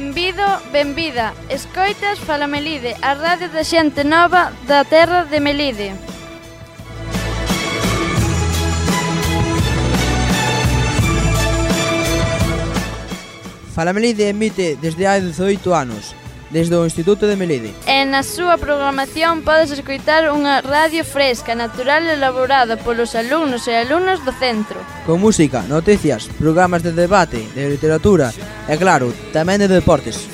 Benvido, benvida. Escoitas Fala Melide, a radio da xente nova da terra de Melide. Fala Melide emite desde hai 18 anos, desde o Instituto de Melide. E na súa programación podes escoitar unha radio fresca, natural e elaborada polos alumnos e alumnas do centro. Con música, noticias, programas de debate, de literatura e, claro, tamén de deportes.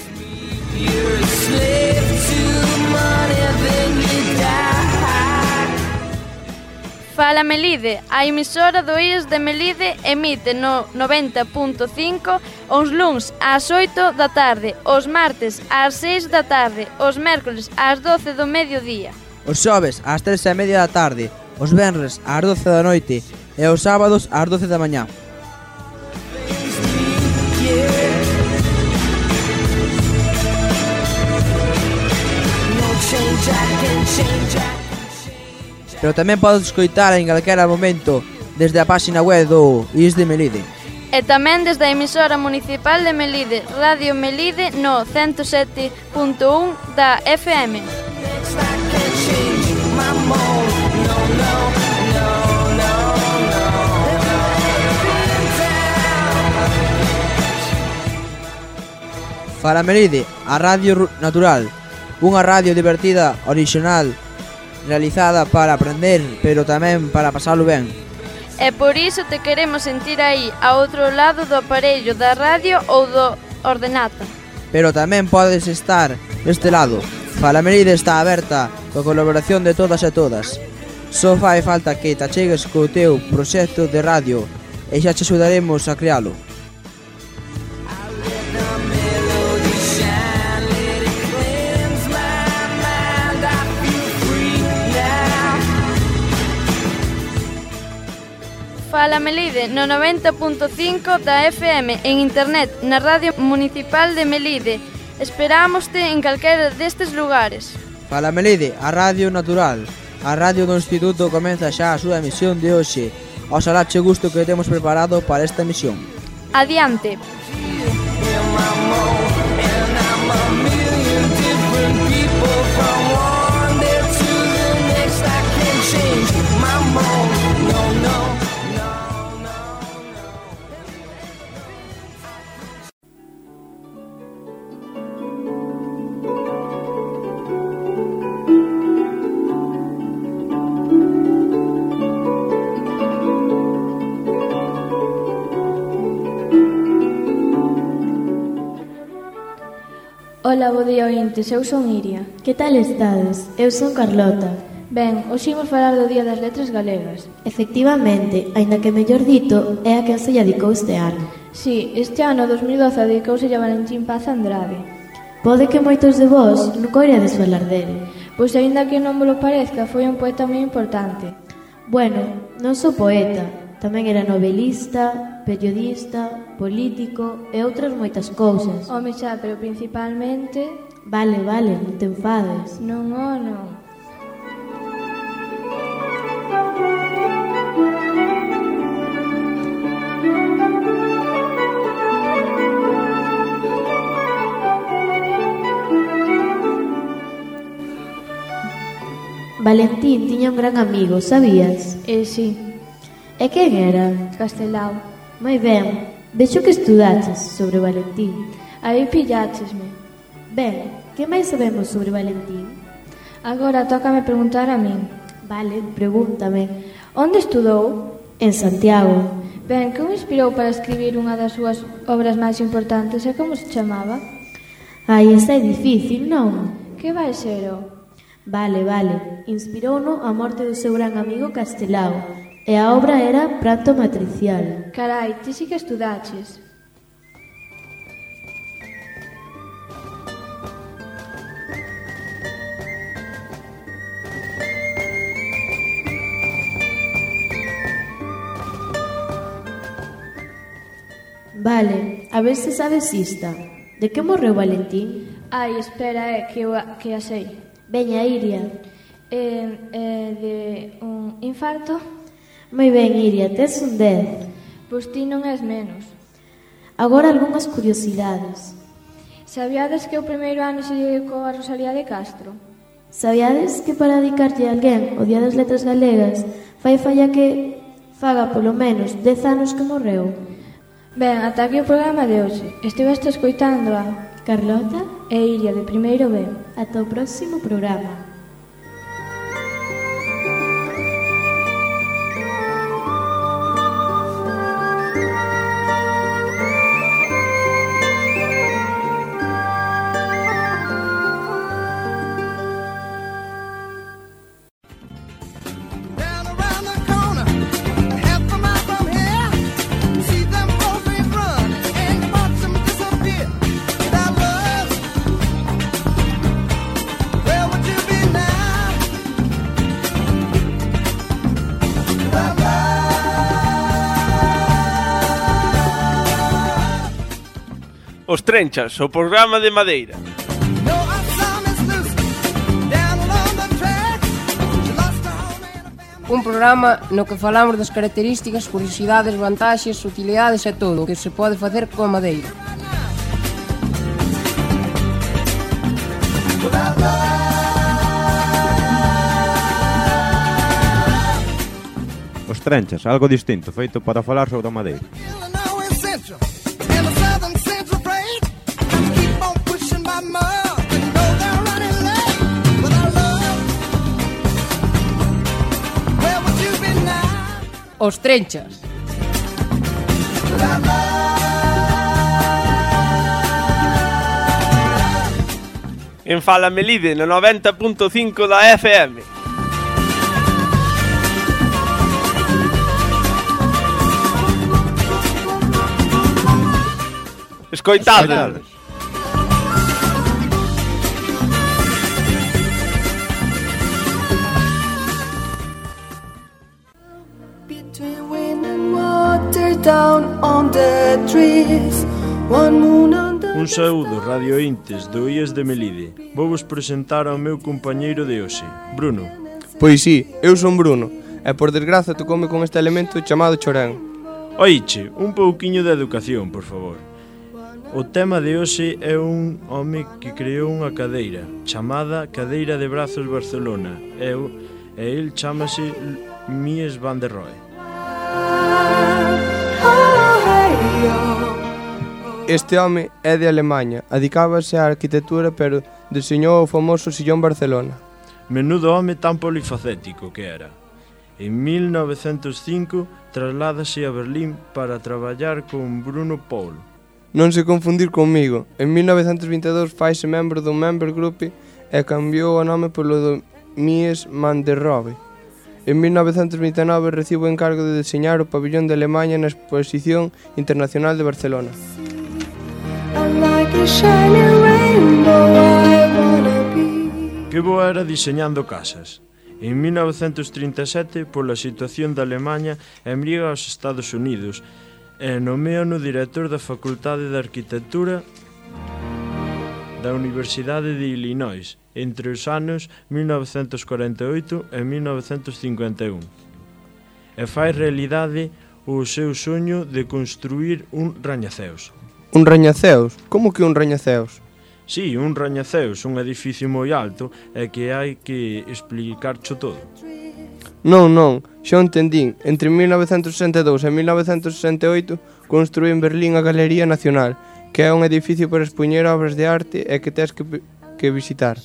Fala Melide, a emisora do IES de Melide emite no 90.5 os luns ás 8 da tarde, os martes ás 6 da tarde, os mércoles ás 12 do mediodía. Os xoves ás 3:30 da tarde, os venres ás 12 da noite e os sábados ás 12 da mañá. Pero tamén podes escoitar en calquera momento desde a páxina web do IES de Melide. E tamén desde a emisora municipal de Melide, Radio Melide no 107.1 da FM. Fala Melide, a radio natural, unha radio divertida, orixinal, realizada para aprender, pero tamén para pasalo ben. E por iso te queremos sentir aí, a outro lado do aparello da radio ou do ordenata. Pero tamén podes estar deste lado. Fala Melide está aberta coa colaboración de todas e todas. Só fai falta que te achegues co teu proxecto de radio e xa te axudaremos a crealo. Fala Melide no 90.5 da FM en internet na Radio Municipal de Melide. Esperámoste en calquera destes lugares. Fala Melide, a radio natural. A radio do Instituto comeza xa a súa emisión de hoxe. Oxalá che gusto que temos preparado para esta emisión. Adiante. Ola, bo día, ointes, eu son Iria. Que tal estades? Eu son Carlota. Ben, hoxe imos falar do Día das Letras Galegas. Efectivamente, aínda que mellor dito, é a quen se lle dedicou este ano. Si, este ano 2012 dedicouse a Valentín Paz Andrade. Pode que moitos de vós nunca oirades falar dele. Pois aínda que non vos parezca, foi un poeta moi importante. Bueno, non sou poeta, tamén era novelista, periodista, político e outras moitas cousas. Home xa, pero principalmente... Vale, non te enfades. Non. Valentín tiña un gran amigo, sabías? Si. E quen era? Castelao. Moi ben, vexo que estudaches sobre Valentín. Aí pilláchesme. Ben, que máis sabemos sobre Valentín? Agora tócame preguntar a min. Vale, pregúntame. Onde estudou? En Santiago. Ben, que o inspirou para escribir unha das súas obras máis importantes e como se chamaba? Ai, esa é difícil, non? Que vai ser o? Vale. Inspirouno a morte do seu gran amigo Castelao. E a obra era Pranto matricial. Carai, ti si que estudaches. Vale, a ver se sabes ista. De que morreu Valentín? Ai, espera, que a sei. Veña, Iria. De un infarto? Moi ben, Iria, tes un 10. Pois ti non és menos. Agora algunhas curiosidades. Sabíades que o primeiro ano se dedicou a Rosalía de Castro? Sabíades que para dedicarlle a alguén o Día das Letras Galegas fai falla que faga polo menos 10 anos que morreu? Ben, ata aquí o programa de hoxe. Estiveste escoitando a Carlota e Iria de Primeiro B. Ata o próximo programa. Os Trenchas, o programa de Madeira. Un programa no que falamos das características, curiosidades, vantaxes, utilidades e todo o que se pode facer coa madeira. Os Trenchas, algo distinto, feito para falar sobre a madeira. Os Trenchas. En Fala Melide, no 90.5 da FM. Escoitade. Un saúdo, Radio Intes, do IES de Melide. Vou vos presentar ao meu compañeiro de hoxe, Bruno. Pois sí, eu son Bruno, e por desgraza tocoume con este elemento chamado chorén. Oiche, un pouquiño de educación, por favor. O tema de hoxe é un home que creou unha cadeira, chamada Cadeira de Brazos Barcelona, e el chámase Mies van der Rohe. Este home é de Alemanha, adicábase á arquitectura, pero deseñou o famoso Sillón Barcelona. Menudo home tan polifacético que era. En 1905 trasládase a Berlín para traballar con Bruno Paul. Non se confundir comigo, en 1922 faise membro do Member Group e cambiou o nome polo do Mies van der Rohe. En 1929 recibe o encargo de deseñar o pabillón de Alemanha na Exposición Internacional de Barcelona. Que boa era diseñando casas. En 1937, pola situación da Alemanha, emigra aos Estados Unidos e nomeano director da Facultade de Arquitectura da Universidade de Illinois entre os anos 1948 e 1951 e fai realidade o seu soño de construir un rañaceos. Un rañaceos? Como que un rañaceos? Sí, un rañaceos, un edificio moi alto e que hai que explicarcho todo. Non, xa entendín. Entre 1962 e 1968 construí en Berlín a Galería Nacional, que é un edificio para expoñer obras de arte e que tes que visitar.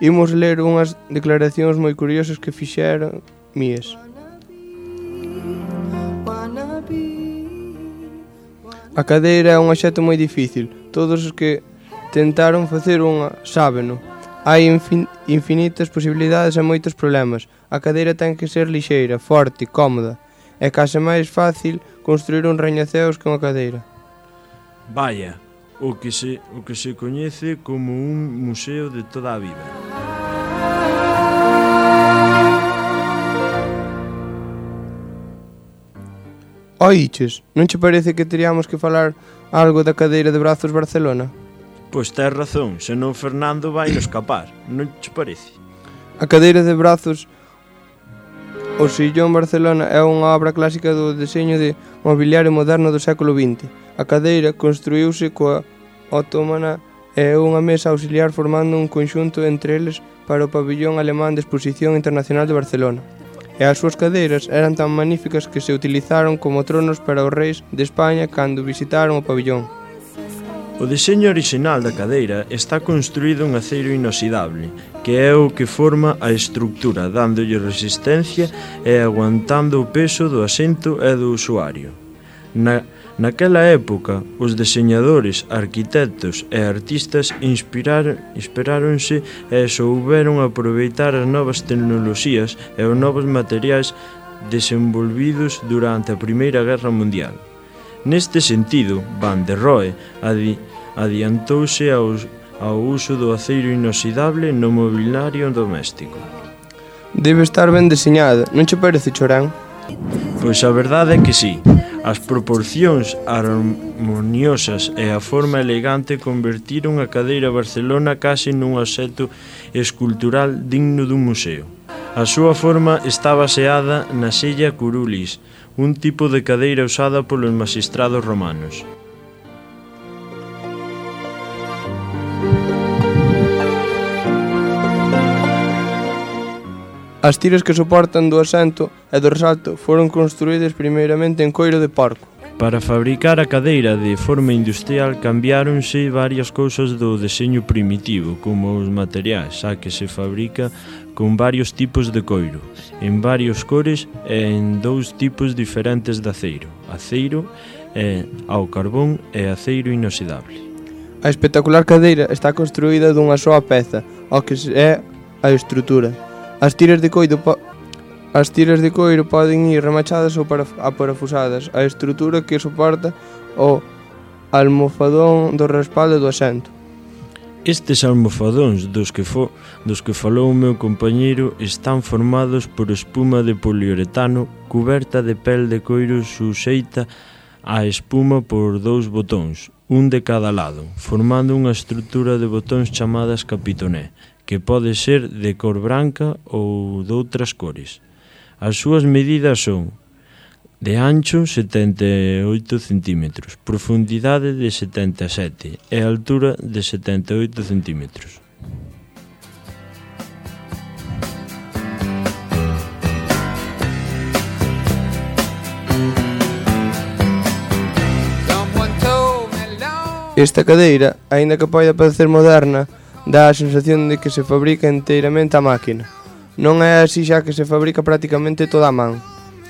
Imos ler unhas declaracións moi curiosas que fixeron Mies. A cadeira é un obxecto moi difícil. Todos os que tentaron facer unha sábeno. Hai infinitas posibilidades e moitos problemas. A cadeira ten que ser lixeira, forte, cómoda. É case máis fácil construir un rañaceos que unha cadeira. Vaya, o que se coñece como un museo de toda a vida. Oiches, non che parece que teríamos que falar algo da cadeira de brazos Barcelona? Pois tes razón, senón Fernando vai nos escapar, non che parece? A cadeira de brazos o Sillón Barcelona é unha obra clásica do deseño de mobiliario moderno do século XX. A cadeira construíuse coa otomana e unha mesa auxiliar formando un conxunto entre eles para o pabillón alemán de Exposición Internacional de Barcelona. E as súas cadeiras eran tan magníficas que se utilizaron como tronos para os reis de España cando visitaron o pabillón. O deseño orixinal da cadeira está construído en aceiro inoxidable, que é o que forma a estructura, dándolle resistencia e aguantando o peso do asento e do usuario. Naquela época, os deseñadores, arquitectos e artistas inspiráronse e souberon aproveitar as novas tecnoloxías e os novos materiais desenvolvidos durante a Primeira Guerra Mundial. Neste sentido, Van der Rohe adiantouse ao uso do aceiro inoxidable no mobiliario doméstico. Debe estar ben deseñada, non che parece, Chorán? Pois a verdade é que sí. As proporcións harmoniosas e a forma elegante convertiron a cadeira Barcelona case nun obxecto escultural digno dun museo. A súa forma está baseada na sella curulis, un tipo de cadeira usada polos maxistrados romanos. As tiras que soportan do asento e do resalto foron construídas primeiramente en coiro de porco. Para fabricar a cadeira de forma industrial cambiáronse varias cousas do deseño primitivo, como os materiais, xa que se fabrica con varios tipos de coiro, en varios cores e en 2 tipos diferentes de aceiro, aceiro ao carbón e aceiro inoxidable. A espectacular cadeira está construída dunha soa peza, o que é a estrutura. As tiras de coiro poden ir remachadas ou aparafusadas. A estrutura que soporta o almofadón do respaldo do asento. Estes almofadóns dos que falou o meu compañeiro están formados por espuma de poliuretano cuberta de pel de coiro suxeita á espuma por 2 botóns, un de cada lado, formando unha estrutura de botóns chamadas capitoné, que pode ser de cor branca ou doutras cores. As súas medidas son de ancho 78 cm, profundidade de 77 e altura de 78 cm. Esta cadeira, aínda que poida parecer moderna, dá a sensación de que se fabrica enteiramente a máquina. Non é así xa que se fabrica prácticamente toda a man.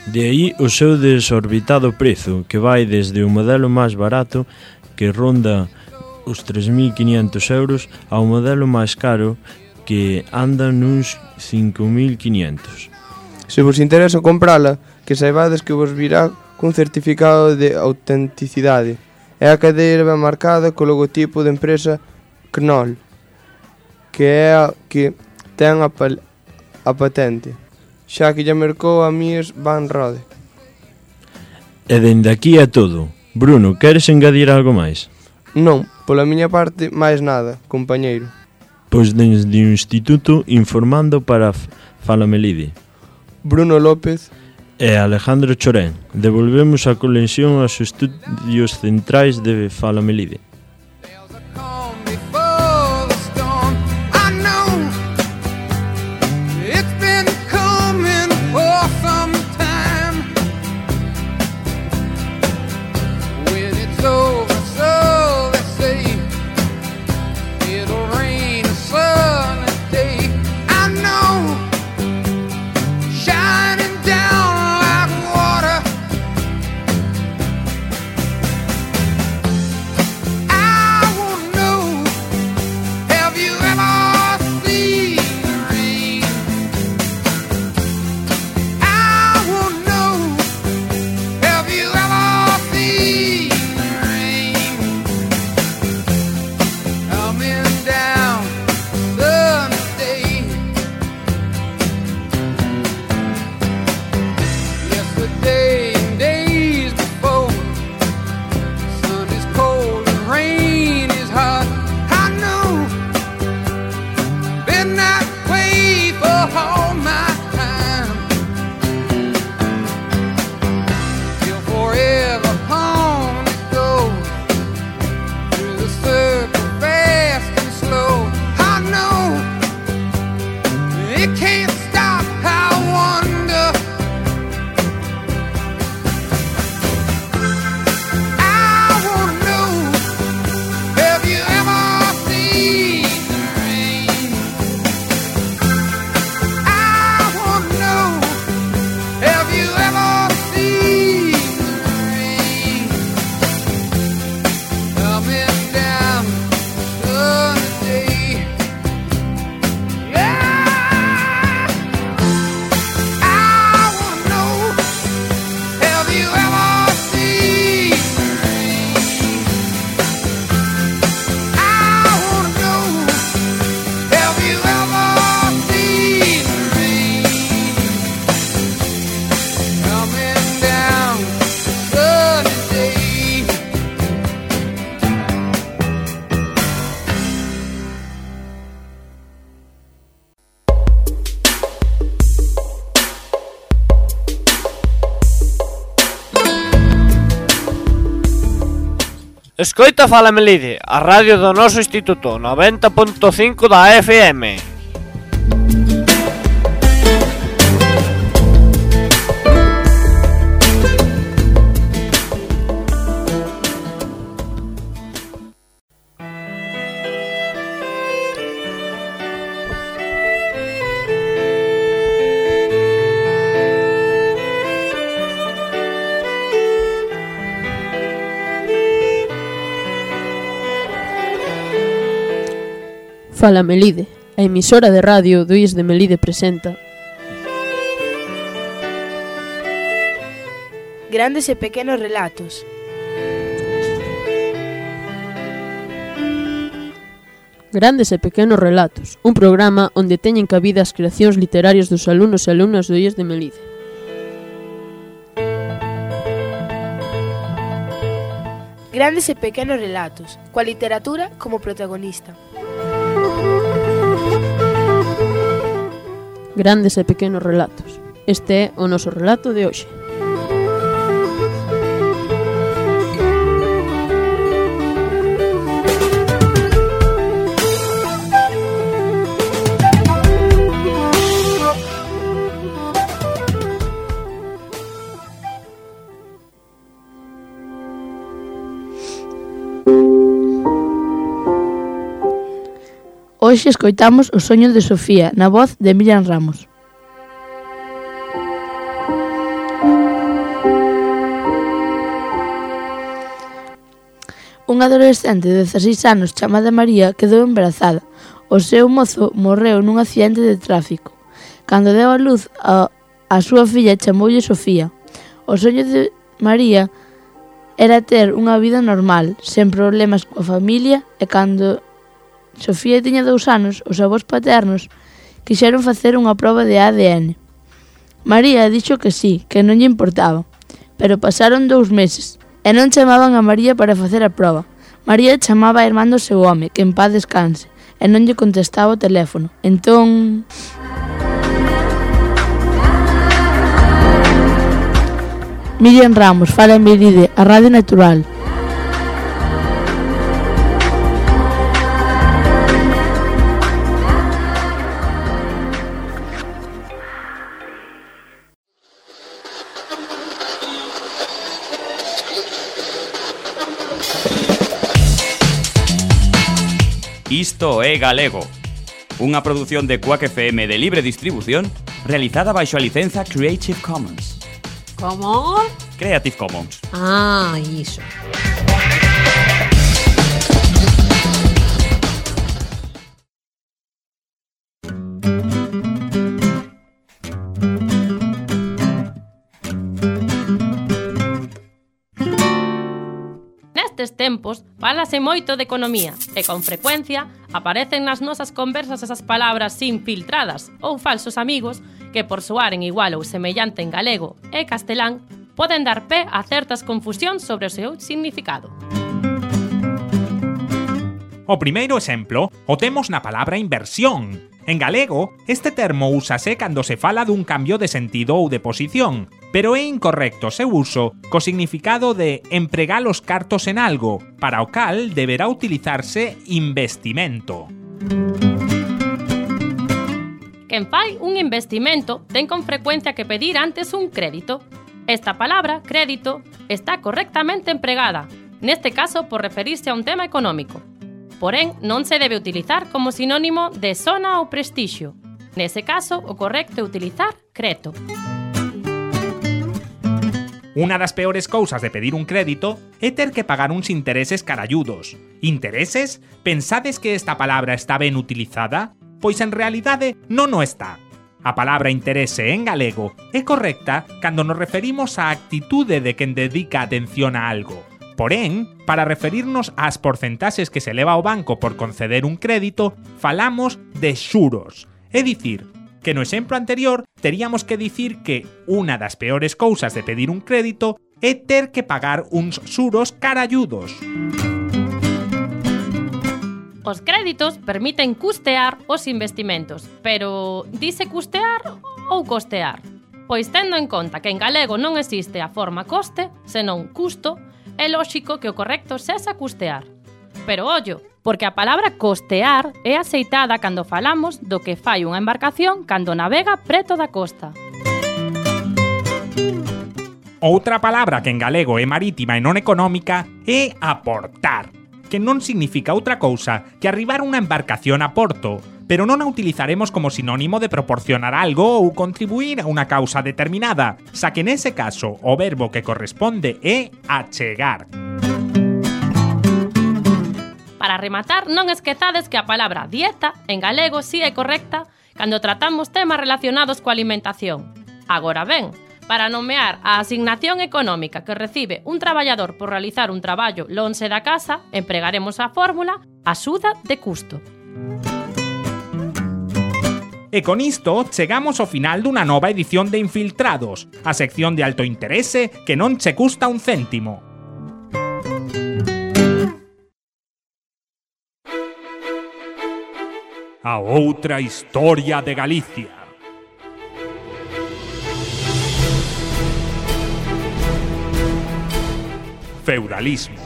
De aí o seu desorbitado prezo, que vai desde o modelo máis barato, que ronda os 3.500 euros, ao modelo máis caro, que anda nuns 5.500. Se vos interesa comprala, que saibades que vos virá cun certificado de autenticidade. É a cadeira ben marcada co logotipo da empresa Knoll, que é a que ten a patente, xa que lle mercou a Mies van Rode. E dende aquí é todo. Bruno, queres engadir algo máis? Non, pola miña parte, máis nada, compañeiro. Pois desde o Instituto informando para Fala Melide. Bruno López e Alejandro Chorén. Devolvemos a conexión aos estudios centrais de Fala Melide. Escoita Fala Melide, a radio do noso instituto, 90.5 da FM. Fala Melide, a emisora de radio do IES de Melide presenta Grandes e pequenos relatos. Grandes e pequenos relatos, un programa onde teñen cabida as creacións literarias dos alumnos e alumnas do IES de Melide. Grandes e pequenos relatos, coa literatura como protagonista. Grandes e pequenos relatos. Este é o noso relato de hoxe. Hoxe escoitamos O soño de Sofía, na voz de Miriam Ramos. Unha adolescente de 16 anos chamada María quedou embarazada. O seu mozo morreu nun accidente de tráfico. Cando deu a luz a súa filla chamoulle Sofía. O soño de María era ter unha vida normal, sen problemas coa familia, e cando Sofía tiña 2 anos, os avós paternos quixeron facer unha proba de ADN. María dixo que sí, que non lle importaba, pero pasaron 2 meses e non chamaban a María para facer a proba. María chamaba a irmán do seu home, que en paz descanse, e non lle contestaba o teléfono. Entón... Miriam Ramos, Fala Melide, a Radio Natural. Isto é Galego, unha produción de Quack FM de libre distribución realizada baixo a licenza Creative Commons. Como? Creative Commons. Ah, iso. Nestes tempos, fálase moito de economía e con frecuencia aparecen nas nosas conversas esas palabras infiltradas ou falsos amigos que por soaren igual ou semellante en galego e castelán poden dar pé a certas confusións sobre o seu significado. O primeiro exemplo o temos na palabra inversión. En galego, este termo úsase cando se fala dun cambio de sentido ou de posición, pero é incorrecto o seu uso co significado de empregar os cartos en algo, para o cal deberá utilizarse investimento. Quen fai un investimento ten con frecuencia que pedir antes un crédito. Esta palabra, crédito, está correctamente empregada, neste caso por referirse a un tema económico. Porén, non se debe utilizar como sinónimo de sona ou prestixio. Nese caso, o correcto é utilizar creto. Unha das peores cousas de pedir un crédito é ter que pagar uns intereses caralludos. Intereses? Pensades que esta palabra está ben utilizada? Pois en realidade non o está. A palabra interese en galego é correcta cando nos referimos á actitude de quen dedica atención a algo. Porén, para referirnos ás porcentaxes que se leva ao banco por conceder un crédito, falamos de xuros. É dicir, que no exemplo anterior teríamos que dicir que unha das peores cousas de pedir un crédito é ter que pagar uns xuros caralludos. Os créditos permiten custear os investimentos, pero dice custear ou costear? Pois tendo en conta que en galego non existe a forma coste, senón custo, é lóxico que o correcto sexa custear. Pero ollo, porque a palabra costear é aceitada cando falamos do que fai unha embarcación cando navega preto da costa. Outra palabra que en galego é marítima e non económica é aportar, que non significa outra cousa que arribar unha embarcación a porto, pero non a utilizaremos como sinónimo de proporcionar algo ou contribuir a unha causa determinada, xa que nese caso o verbo que corresponde é achegar. Para rematar, non esquezades que a palabra dieta en galego si é correcta cando tratamos temas relacionados coa alimentación. Agora ben, para nomear a asignación económica que recibe un traballador por realizar un traballo lonxe da casa, empregaremos a fórmula axuda de custo. E con isto chegamos ao final dunha nova edición de Infiltrados, a sección de alto interese que non che custa un céntimo. A outra historia de Galicia. Feudalismo,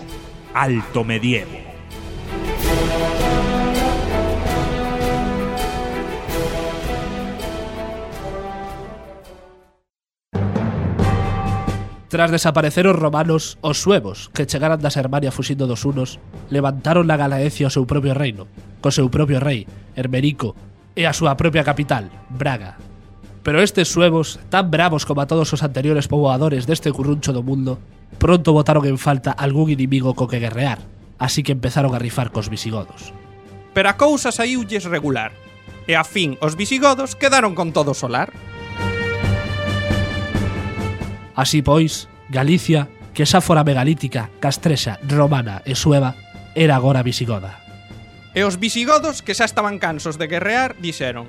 alto medievo. Tras desaparecer os romanos, os suevos, que chegaran da Sermania fuxindo dos hunos, levantaron na Galaecia o seu propio reino, co seu propio rei, Hermerico, e a súa propia capital, Braga. Pero estes suevos, tan bravos como a todos os anteriores poboadores deste curruncho do mundo, pronto botaron en falta algún inimigo co que guerrear, así que empezaron a rifar cos visigodos. Pero a cousa saíulles regular, e a fin os visigodos quedaron con todo o solar. Así pois, Galicia, que xa fora megalítica, castrexa, romana e sueva, era agora visigoda. E os visigodos, que xa estaban cansos de guerrear, dixeron: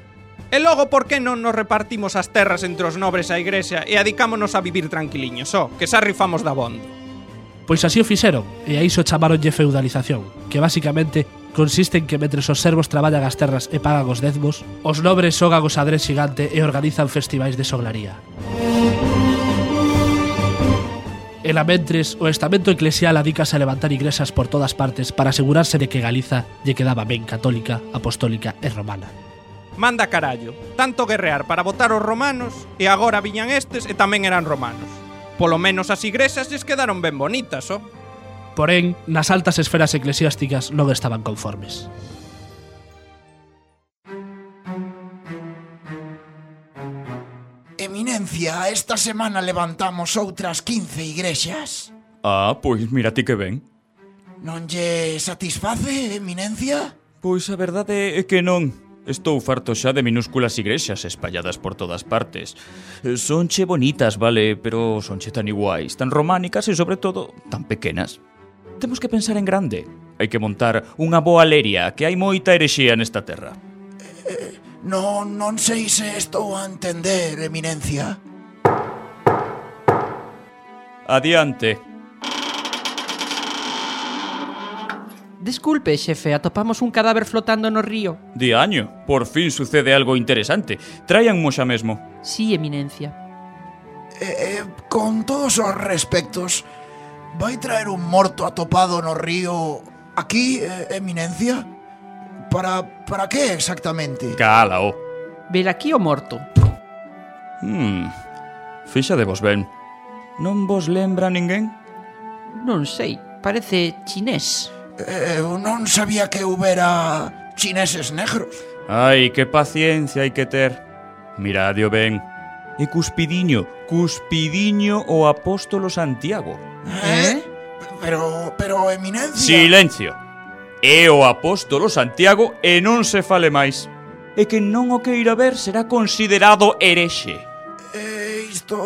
"E logo por que non nos repartimos as terras entre os nobres a igrexa e adicámonos a vivir tranquiliños, que xa rifamos dabondo?" Pois así o fixeron, e a iso chamaronlle feudalización, que basicamente consiste en que mentres os servos traballan as terras e pagan os dezmos, os nobres xogan o xadrez xigante e organizan festivais de soglaría. E lamentres, o estamento eclesial adícase a levantar igrexas por todas partes para asegurarse de que Galiza lle quedaba ben católica, apostólica e romana. Manda carallo, tanto guerrear para votar os romanos e agora viñan estes e tamén eran romanos. Polo menos as igrexas lles quedaron ben bonitas, Porén, nas altas esferas eclesiásticas non estaban conformes. Eminencia, esta semana levantamos outras 15 igrexas. Ah, pois mira ti que ben. Non lle satisface, Eminencia? Pois a verdade é que non. Estou farto xa de minúsculas igrexas espalladas por todas partes. Sonche bonitas, vale, pero sonche tan iguais, tan románicas e, sobre todo, tan pequenas. Temos que pensar en grande. Hai que montar unha boa leria, que hai moita herexía nesta terra. Non sei se estou a entender, Eminencia. Adiante. Desculpe, xefe, atopamos un cadáver flotando no río. Diaño, por fin sucede algo interesante. Traianmo xa mesmo. Sí, Eminencia. Con todos os respectos, vai traer un morto atopado no río aquí, Eminencia? Para que exactamente? Cálao. Ver aquí o morto. Fíxadevos ben. Non vos lembra ninguén? Non sei, parece chinés. Eu non sabía que houbera chineses negros. Ai, que paciencia hai que ter. Miradio ben. E Cuspidiño o apóstolo Santiago. Pero, Eminencia... Silencio. É o apóstolo Santiago e non se fale máis. E que non o queira ver será considerado herexe. Isto...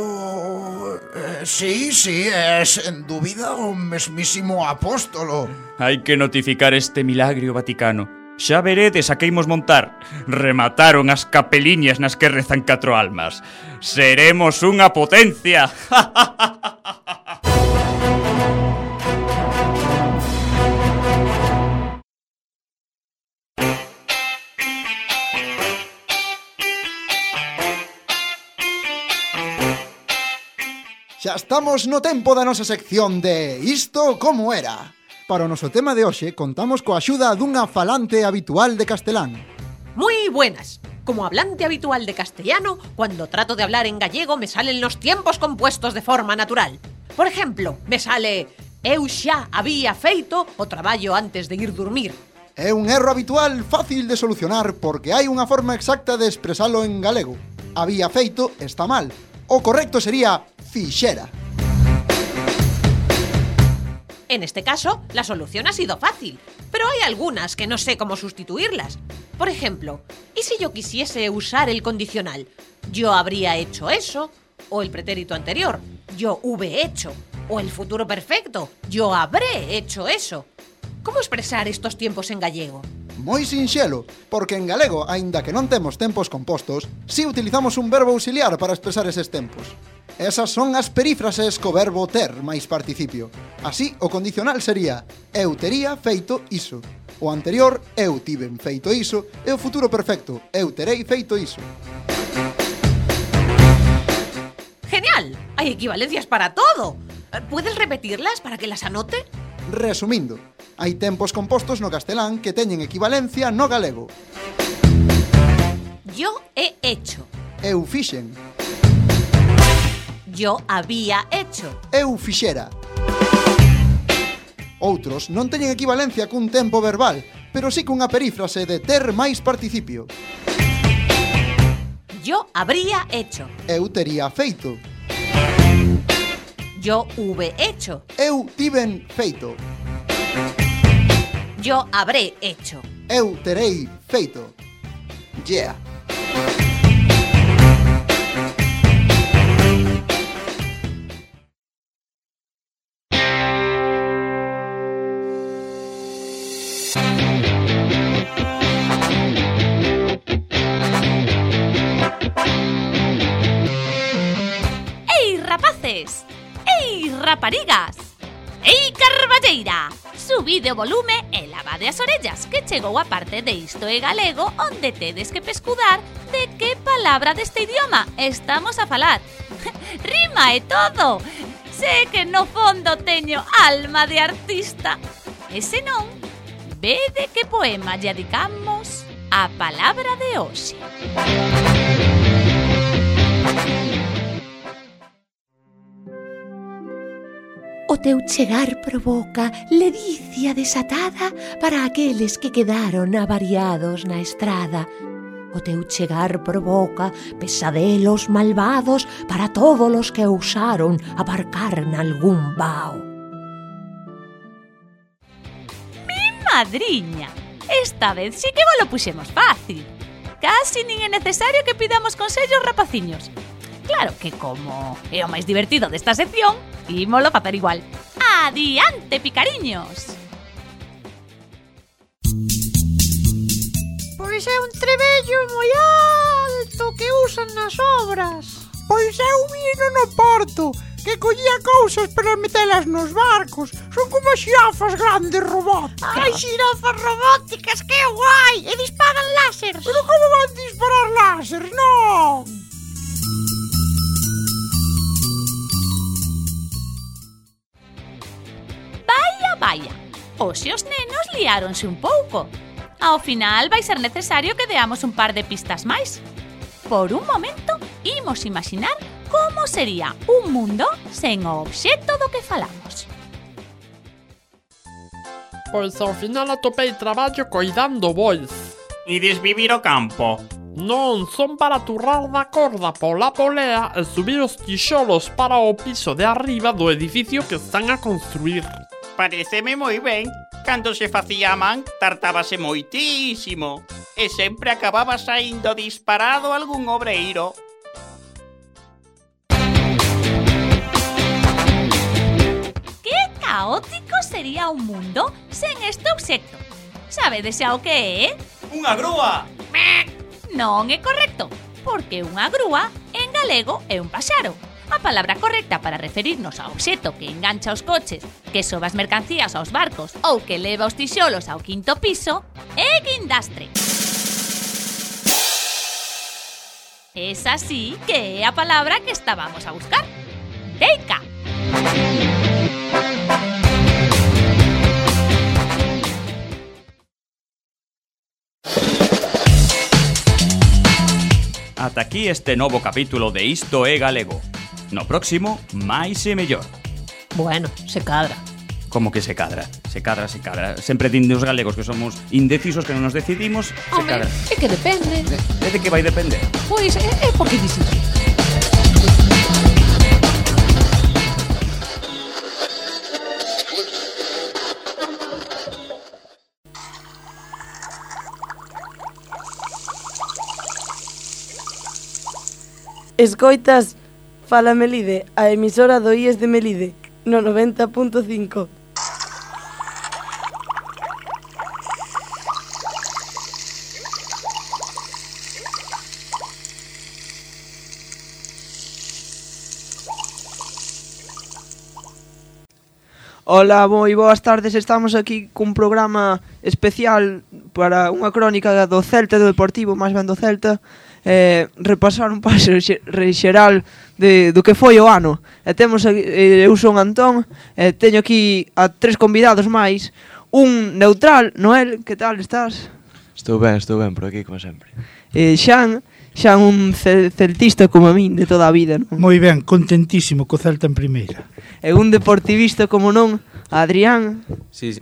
Sí, é sen dúbida o mesmísimo apóstolo. Hai que notificar este milagrio vaticano. Xa veredes a que imos montar. Remataron as capeliñas nas que rezan 4 almas. Seremos unha potencia. Xa estamos no tempo da nosa sección de Isto como era. Para o noso tema de hoxe, contamos coa axuda dunha falante habitual de castelán. Muy buenas. Como hablante habitual de castellano, cuando trato de hablar en gallego me salen los tiempos compuestos de forma natural. Por ejemplo, me sale eu xa había feito o traballo antes de ir dormir. É un erro habitual fácil de solucionar porque hai unha forma exacta de expresalo en galego. Había feito está mal. O correcto sería fixera. En este caso, la solución ha sido fácil, pero hay algunas que no sé cómo sustituirlas. Por ejemplo, ¿y si yo quisiese usar el condicional? Yo habría hecho eso, o el pretérito anterior, yo hube hecho, o el futuro perfecto, yo habré hecho eso. ¿Cómo expresar estos tiempos en gallego? Moi sinxelo, porque en galego, aínda que non temos tempos compostos, si utilizamos un verbo auxiliar para expresar eses tempos. Esas son as perífrases co verbo ter máis participio. Así, o condicional sería eu tería feito iso. O anterior, eu tiven feito iso. E o futuro perfecto, eu terei feito iso. ¡Genial! Hay equivalencias para todo. ¿Puedes repetirlas para que las anote? Resumindo, hai tempos compostos no castelán que teñen equivalencia no galego. Yo he hecho. Eu fixen. Yo había hecho. Eu fixera. Outros non teñen equivalencia cun tempo verbal, pero sí cunha perífrase de ter máis participio. Yo habría hecho. Eu tería feito. Yo hube hecho. Eu tiven feito. Yo habré hecho. Eu terei feito. Yeah. ¡Ei, rapaces! ¡Ei, raparigas! ¡Ei, carballeira! Subide o volume e lavade as orellas, que chegou a parte de Isto é Galego, onde tedes que pescudar de que palabra deste idioma estamos a falar. Rima e todo! Sé que no fondo teño alma de artista. E se non, vede que poema lle dedicamos a palabra de hoxe. O teu chegar provoca ledicia desatada para aqueles que quedaron avariados na estrada. O teu chegar provoca pesadelos malvados para todos os que ousaron aparcar nalgún vao. Mi madriña, esta vez sí que vos lo puxemos fácil. Casi nin é necesario que pidamos consellos, rapaciños. Claro que como é o máis divertido desta sección, ímolo facer igual. Adiante, picariños! Pois é un trebello moi alto que usan nas obras. Pois eu vino no porto, que collía cousas para metelas nos barcos. Son como xirafas grandes robóticas. Ai, xirafas robóticas, que guai! E disparan láseres. Pero como van disparar láseres? Non! Vaya, hoxe os nenos liáronse un pouco. Ao final vai ser necesario que deamos un par de pistas máis. Por un momento, imos imaginar como sería un mundo sen o obxecto do que falamos. Pois ao final atopei traballo coidando bois. Ides vivir o campo? Non, son para turrar da corda pola polea e subir os tixolos para o piso de arriba do edificio que están a construir. Pareceme moi ben. Cando se facía a man, tartábase moitísimo. E sempre acababa saindo disparado algún obreiro. Que caótico sería un mundo sen este obxecto. Sabedes xa o que é? Unha grúa! Non é correcto, porque unha grúa en galego é un paxaro. A palabra correcta para referirnos ao obxecto que engancha os coches, que soba as mercancías aos barcos ou que leva os tixolos ao quinto piso é guindastre. Esa sí que é a palabra que estábamos a buscar. Teica. Ata aquí este novo capítulo de Isto é Galego. No próximo, máis e mellor. Bueno, se cadra. Como que se cadra? Se cadra. Sempre dinde os galegos que somos indecisos, que non nos decidimos, se Home, cadra. é que depende. É de que vai depender? Pois é porque dices. Escoitas Fala Melide, a emisora do IES de Melide, no 90.5. Ola, moi boas tardes, estamos aquí cun programa especial para unha crónica do Celta e do Deportivo, máis ben do Celta, repasar un paso xeral do que foi o ano. E temos aquí, eu son Antón, teño aquí a 3 convidados máis, un neutral, Noel, que tal estás? Estou ben, por aquí, como sempre. Xan un celtista como a min de toda a vida, non? Moi ben, contentísimo co Celta en primeira. E un deportivista como non, Adrián. Sí.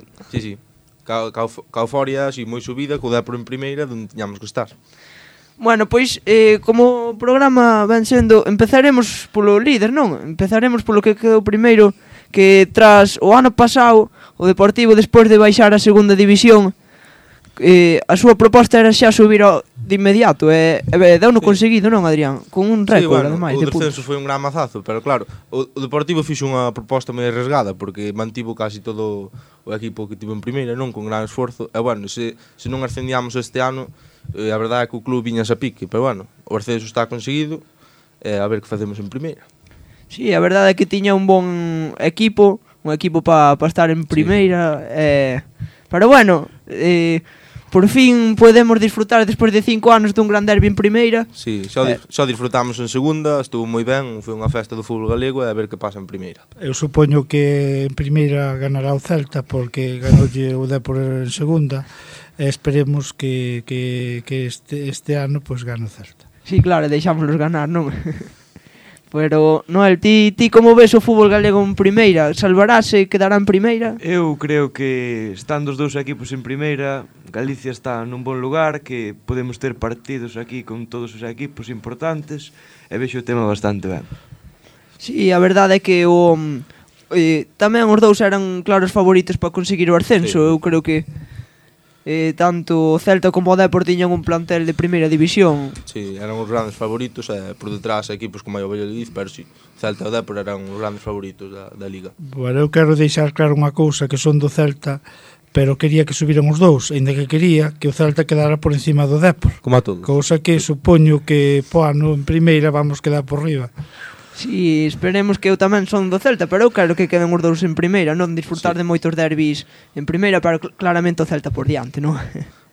Ca euforia, así, moi subida, co Depor en primeira, onde tiñamos que estar. Bueno, pois, como o programa ven sendo, empezaremos polo líder, non? Empezaremos polo que quedou primeiro, que tras o ano pasado, o Deportivo, despois de baixar a segunda división, a súa proposta era xa subir de inmediato, e deu-no conseguido, non, Adrián? Con un récord, ademais, de puntos. O descenso foi un gran mazazo, pero claro, o Deportivo fixo unha proposta moi arriesgada, porque mantivo casi todo o equipo que tivo en primeira, non, con gran esforzo, e bueno, se non ascendíamos este ano, a verdade é que o club viñas a pique, pero bueno, o ascenso está conseguido, a ver que facemos en primeira. Sí, a verdade é que tiña un bon equipo, para estar en primeira, pero bueno, por fin podemos disfrutar despois de 5 anos dun gran derbi en primeira. Sí, xa disfrutamos en segunda, estuvo moi ben, foi unha festa do fútbol galego e a ver que pasa en primeira. Eu supoño que en primeira ganará o Celta porque ganoulle o Depor en segunda e esperemos que este ano pues gane o Celta. Sí, claro, deixámoslos ganar, non? Pero, Noel, ti como ves o fútbol galego en primeira? Salvarase, quedará en primeira? Eu creo que estando os dous equipos en primeira, Galicia está nun bon lugar, que podemos ter partidos aquí con todos os equipos importantes, e vexo o tema bastante ben. Sí, a verdade é que tamén os dous eran claros favoritos para conseguir o ascenso. Sí. Eu creo que tanto o Celta como o Depor tiñan un plantel de primeira división. Sí, eran os grandes favoritos, por detrás equipos como o Valladolid, pero sí, Celta e o Depor eran os grandes favoritos da Liga. Bueno, eu quero deixar claro unha cousa, que son do Celta, pero quería que subiran os dous, ainda que quería que o Celta quedara por encima do Depor. Como a todos. Cousa que supoño que po ano en primeira vamos quedar por riba. Sí, esperemos que eu tamén son do Celta, pero eu quero que queden os dous en primeira, non disfrutar de moitos derbis en primeira, pero claramente o Celta por diante, non?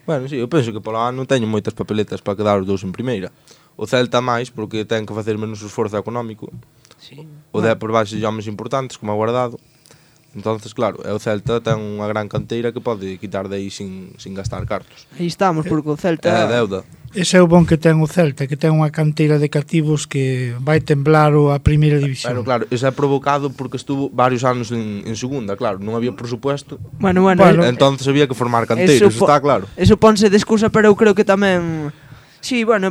Bueno, sí, eu penso que polo ano teño moitas papeletas para quedar os dous en primeira. O Celta máis, porque ten que facer menos esforzo económico. Sí. O Depor vai ser homes importantes, como a Guardado. Entonces, claro, o Celta ten unha gran canteira que pode quitar de aí sin gastar cartos. Aí estamos, porque o Celta é deuda. Ese é o bon que ten o Celta, que ten unha canteira de cativos que vai temblar a primeira división. Pero claro, eso é provocado porque estuvo varios anos en segunda, claro, non había presupuesto. Bueno, entonces había que formar canteiros, está claro. Eso ponse de excusa, pero eu creo que tamén... Sí, bueno,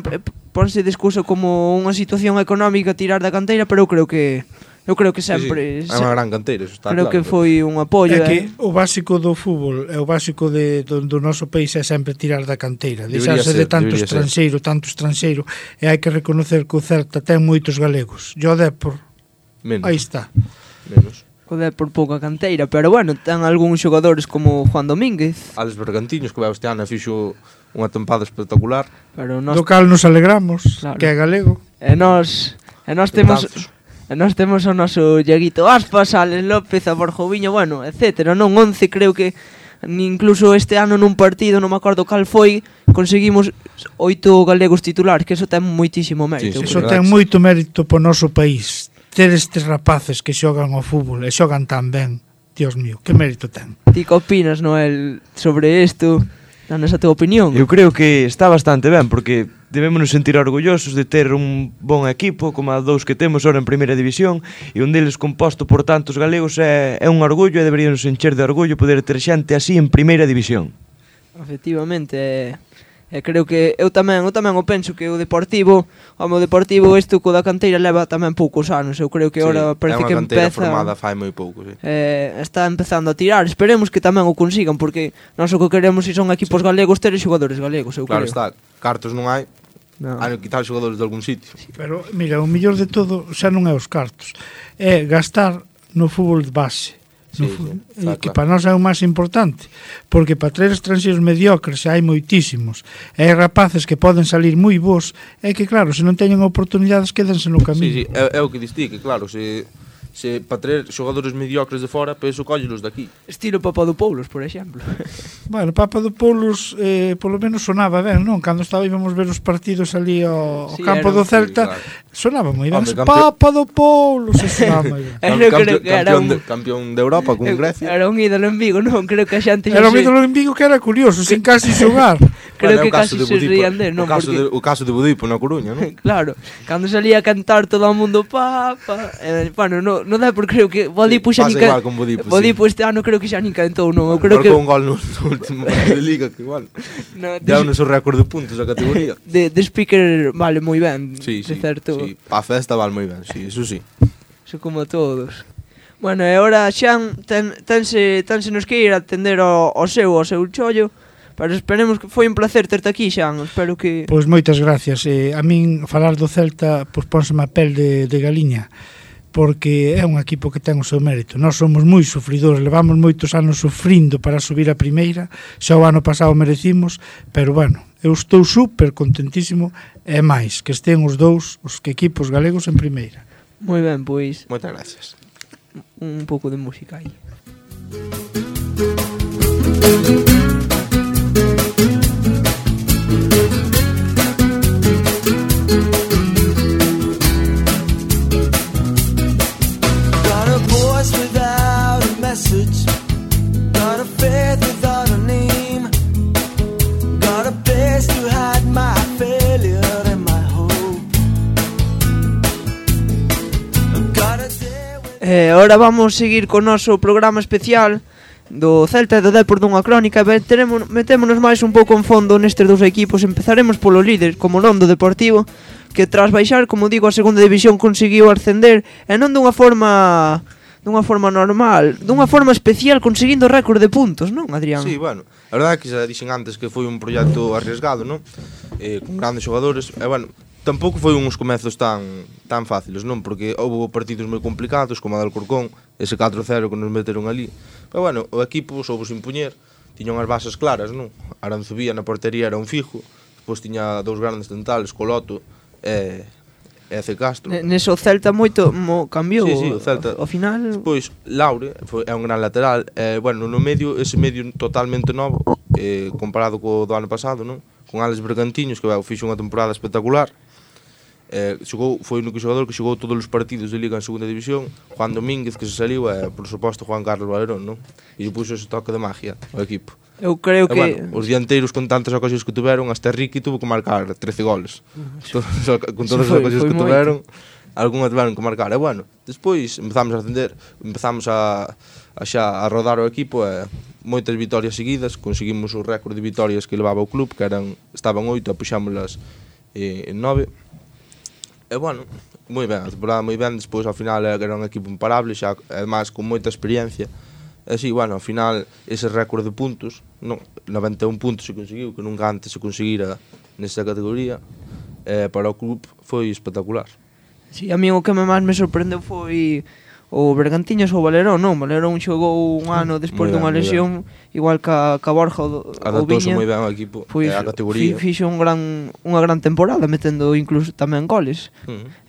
ponse de excusa como unha situación económica tirar da canteira, pero eu creo que sempre... Sí. É unha gran canteira, eso está creo claro. Que foi un apoio. É que o básico do fútbol, o básico do noso país é sempre tirar da canteira, deixarse de tanto estranxeiro, e hai que reconocer que o Celta ten moitos galegos. E o Depor, aí está. Menos. O Depor pouca canteira, pero bueno, ten algúns xogadores como Juan Domínguez. Alex Bergantiños, que vai este ano fixo unha tempada espectacular. Pero do cal nos alegramos, claro, que é galego. E nós temos o noso Iaguito Aspas, Alex López, a Borjoviño, bueno, etcétera, non 11, creo que incluso este ano nun partido, non me acordo cal foi, conseguimos 8 galegos titulares, que eso ten moitísimo mérito. Sí, eso ten moito mérito po noso país. ter estes rapaces que xogan ao fútbol e xogan tan ben, Dios mío, que mérito ten. Ti que opinas, Noel, sobre isto? Danos a tua opinión. Eu creo que está bastante ben, porque debémonos sentir orgullosos de ter un bon equipo como a dous que temos ahora en primeira división, e un deles composto por tantos galegos é un orgullo, e deberíamos encher de orgullo poder ter xente así en primeira división. Efectivamente, creo que eu tamén o penso que o Deportivo, isto co da canteira leva tamén poucos anos. Eu creo que agora parece que empeza. É unha canteira formada fai moi pouco, sí. Está empezando a tirar. Esperemos que tamén o consigan, porque nós o que queremos se son equipos galegos ter xogadores galegos, eu claro creo. Está, cartos non hai. Hai que quitar xogadores de algún sitio. Pero mira, o mellor de todo xa non é os cartos, é gastar no fútbol de base. Que para nós é o máis importante, porque para traer estranxeiros mediocres xa hai moitísimos, e hai rapaces que poden salir moi bons, é que claro, se non teñen oportunidades quédense no camiño. Sí, é o que diste, que claro, se para traer xogadores mediocres de fora, pois o cóllelos daqui. Estilo Papadopoulos, por exemplo. Bueno, Papadopoulos polo menos sonaba ben, non? Cando íbamos ver os partidos ali ao campo do Celta, sonaba moi ben. Papadopoulos, sonaba moi ben. Campeón de Europa con Grecia. Era un ídolo en Vigo, non? Creo que a xente... Era un ídolo en Vigo que era curioso, sin casi xogar. Creo que casi se rían de, non? O caso de Budipo na Coruña, non? Claro, cando salía a cantar todo o mundo papa... Bueno, non dá por creo que Budipo xa nin igual con Budipo, Budipo este ano creo que xa nin cantou, non? Eu creo que marcou un gol no último partido de Liga, que igual deu no seu récord de puntos a categoría. De speaker vale moi ben, sí, de certo. Sí, pa festa vale moi ben, sí, eso sí. Eso como todos. Bueno, e agora Xan tense nos que ir a atender ao seu chollo. Pero esperemos que foi un placer terte aquí, Xan. Espero que... Pois moitas gracias. A min falar do Celta pois pónseme a pel de galiña, porque é un equipo que ten o seu mérito. Nós somos moi sufridores, levamos moitos anos sufrindo para subir a primeira, xa o ano pasado merecimos, pero bueno, eu estou super contentísimo, e máis, que estén os dous, os equipos galegos en primeira. Moi ben, pois. Moitas gracias. Un pouco de música aí. Ahora vamos seguir co noso programa especial do Celta e do Depor dunha crónica. Metémonos máis un pouco en fondo nestes dous equipos. Empezaremos polo líder, como non do Deportivo, que tras baixar, como digo, a segunda división conseguiu ascender, e non dunha forma normal, dunha forma especial, conseguindo récord de puntos, non, Adrián? Sí, bueno, a verdade é que xa dixen antes que foi un proxecto arriesgado, non? Con grandes xogadores, e bueno, tampouco foi uns comezos tan fáciles, non? Porque houve partidos moi complicados, como a del Corcón, ese 4-0 que nos meteron ali. Pero bueno, o equipo soubos impuñer, tiñan as bases claras, non? Aranzubía na portería era un fijo, depois tiña dous grandes centrales, Coloto e C. Castro. Neso Celta moito cambiou. Sí, o Celta. Ao final... Despois, Laure é un gran lateral. Bueno, no medio, ese medio totalmente novo, comparado co do ano pasado, non? Con Alex Bergantiños, que fixo unha temporada espectacular. Foi o único xogador que xogou todos os partidos de Liga en segunda división. Juan Domínguez, que se saliu, e, por suposto, Juan Carlos Valerón, non? E puxo ese toque de magia ao equipo. Eu creo que... Bueno, os dianteiros con tantas ocasións que tuveron, hasta Ricky tuvo que marcar 13 goles. Con todas as ocasións que tuveron, algunha tuveron que marcar. E bueno, despois empezamos a ascender, empezamos a rodar o equipo, e moitas vitorias seguidas, conseguimos o récord de vitorias que levaba o club, que estaban 8, puxámoslas en 9. E bueno, moi ben, a temporada moi ben, despois ao final era un equipo imparable, xa además con moita experiencia. E si, bueno, ao final ese récord de puntos, 91 puntos se conseguiu, que nunca antes se conseguira nesta categoría, para o club foi espectacular. Si, a mí o que máis me sorprendeu foi o Bergantiños ou o Valerón, non? Valerón xogou un ano despois dunha lesión, igual que a Borja ou Viña. Adaptouse moi ben ao equipo e á categoría. Fixo unha gran temporada, metendo incluso tamén goles.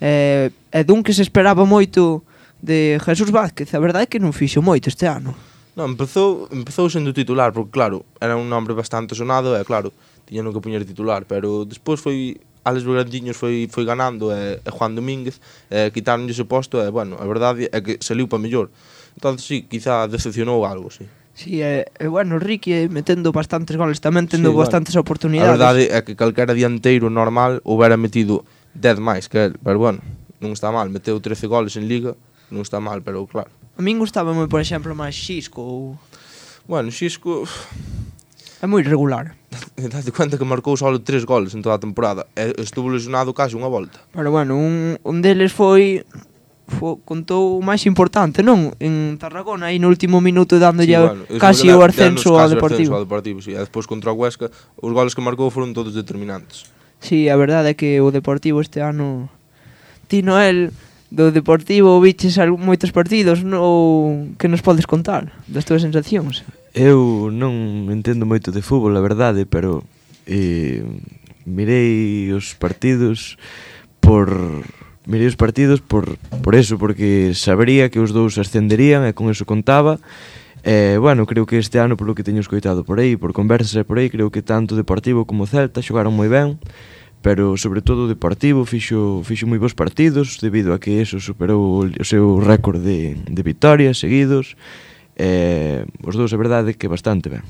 E dun que se esperaba moito de Jesús Vázquez, a verdade é que non fixo moito este ano. Non, empezou sendo titular, porque claro, era un nombre bastante sonado, e claro, tiñan que poñer titular, pero despois foi Alex Bergantiños foi ganando e Juan Domínguez quitaron ese posto e, bueno, a verdade é que saliu para mellor. Entón, sí, quizá decepcionou algo, sí. Sí, bueno, Ricky metendo bastantes goles tamén, tendo bastantes oportunidades. A verdade é que calquera dianteiro normal houbera metido 10 máis que el, pero bueno, non está mal, meteu 13 goles en Liga, non está mal, pero claro. A min gustaba moi, por exemplo, máis Xisco. Bueno, Xisco é moi regular. Date cuenta que marcou só 3 goles en toda a temporada e estuvo lesionado case unha volta. Pero bueno, un deles contou o máis importante, non? En Tarragona, aí no último minuto dándolle casi o ascenso ao Deportivo. Sí. E despois contra o Huesca, os goles que marcou foron todos determinantes. Sí, a verdade é que o Deportivo este ano... Ti, Noel, do Deportivo viches moitos partidos, ou que nos podes contar das túas sensacións? Eu non entendo moito de fútbol, a verdade, pero mirei os partidos por eso, porque sabría que os dous ascenderían e con eso contaba. Bueno, creo que este ano, polo que teño escoitado por aí, por conversas por aí, creo que tanto Deportivo como Celta xogaron moi ben, pero sobre todo o Deportivo fixo moi bons partidos debido a que eso superou o seu récord de vitorias seguidos. Os dous, a verdade, que bastante ben.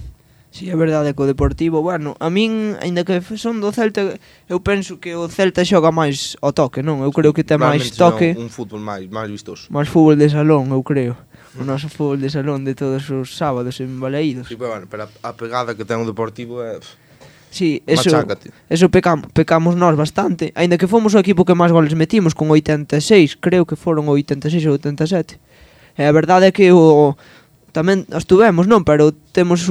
Si, é verdade que o Deportivo, bueno, a min, aínda que son do Celta, eu penso que o Celta xoga máis ao toque, non? Eu creo que ten máis toque. Un fútbol máis vistoso. Máis fútbol de salón, eu creo. O noso fútbol de salón de todos os sábados en Balaídos. Sí, pero a pegada que ten o Deportivo é... Sí, eso pecamos nós bastante. Aínda que fomos o equipo que máis goles metimos, con 86, creo que foron 86 ou 87. E a verdade é que tamén estuvemos, non? Pero temos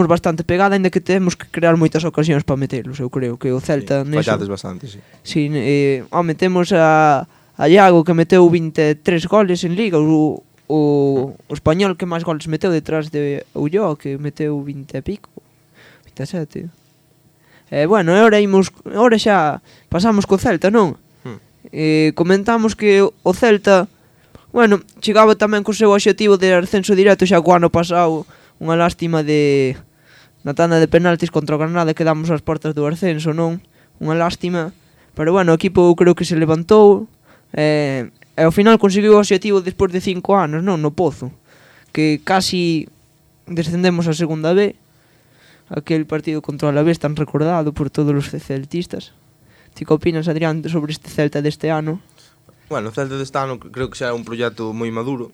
bastante pegada, ainda que temos que crear moitas ocasións para metelos. Eu creo que o Celta neso... Fallades bastante, sí. Sí, temos a Iago que meteu 23 goles en Liga, o español que máis goles meteu detrás de Ulloa, que meteu 20 e pico, 27. Bueno, ahora xa pasamos co Celta, non? Comentamos que o Celta, bueno, chegaba tamén co seu obxectivo de ascenso directo xa co ano pasado. Unha lástima na tanda de penaltis contra o Granada, que damos as portas do ascenso, non? Unha lástima, pero bueno, o equipo creo que se levantou e ao final conseguiu o obxectivo despois de 5 anos, non? No Pozo, que casi descendemos a segunda B, aquel partido contra o Alavés tan recordado por todos os celtistas. Ti que opinas, Adrián, sobre este Celta deste ano? Bueno, o Celta deste ano creo que xa é un proxecto moi maduro,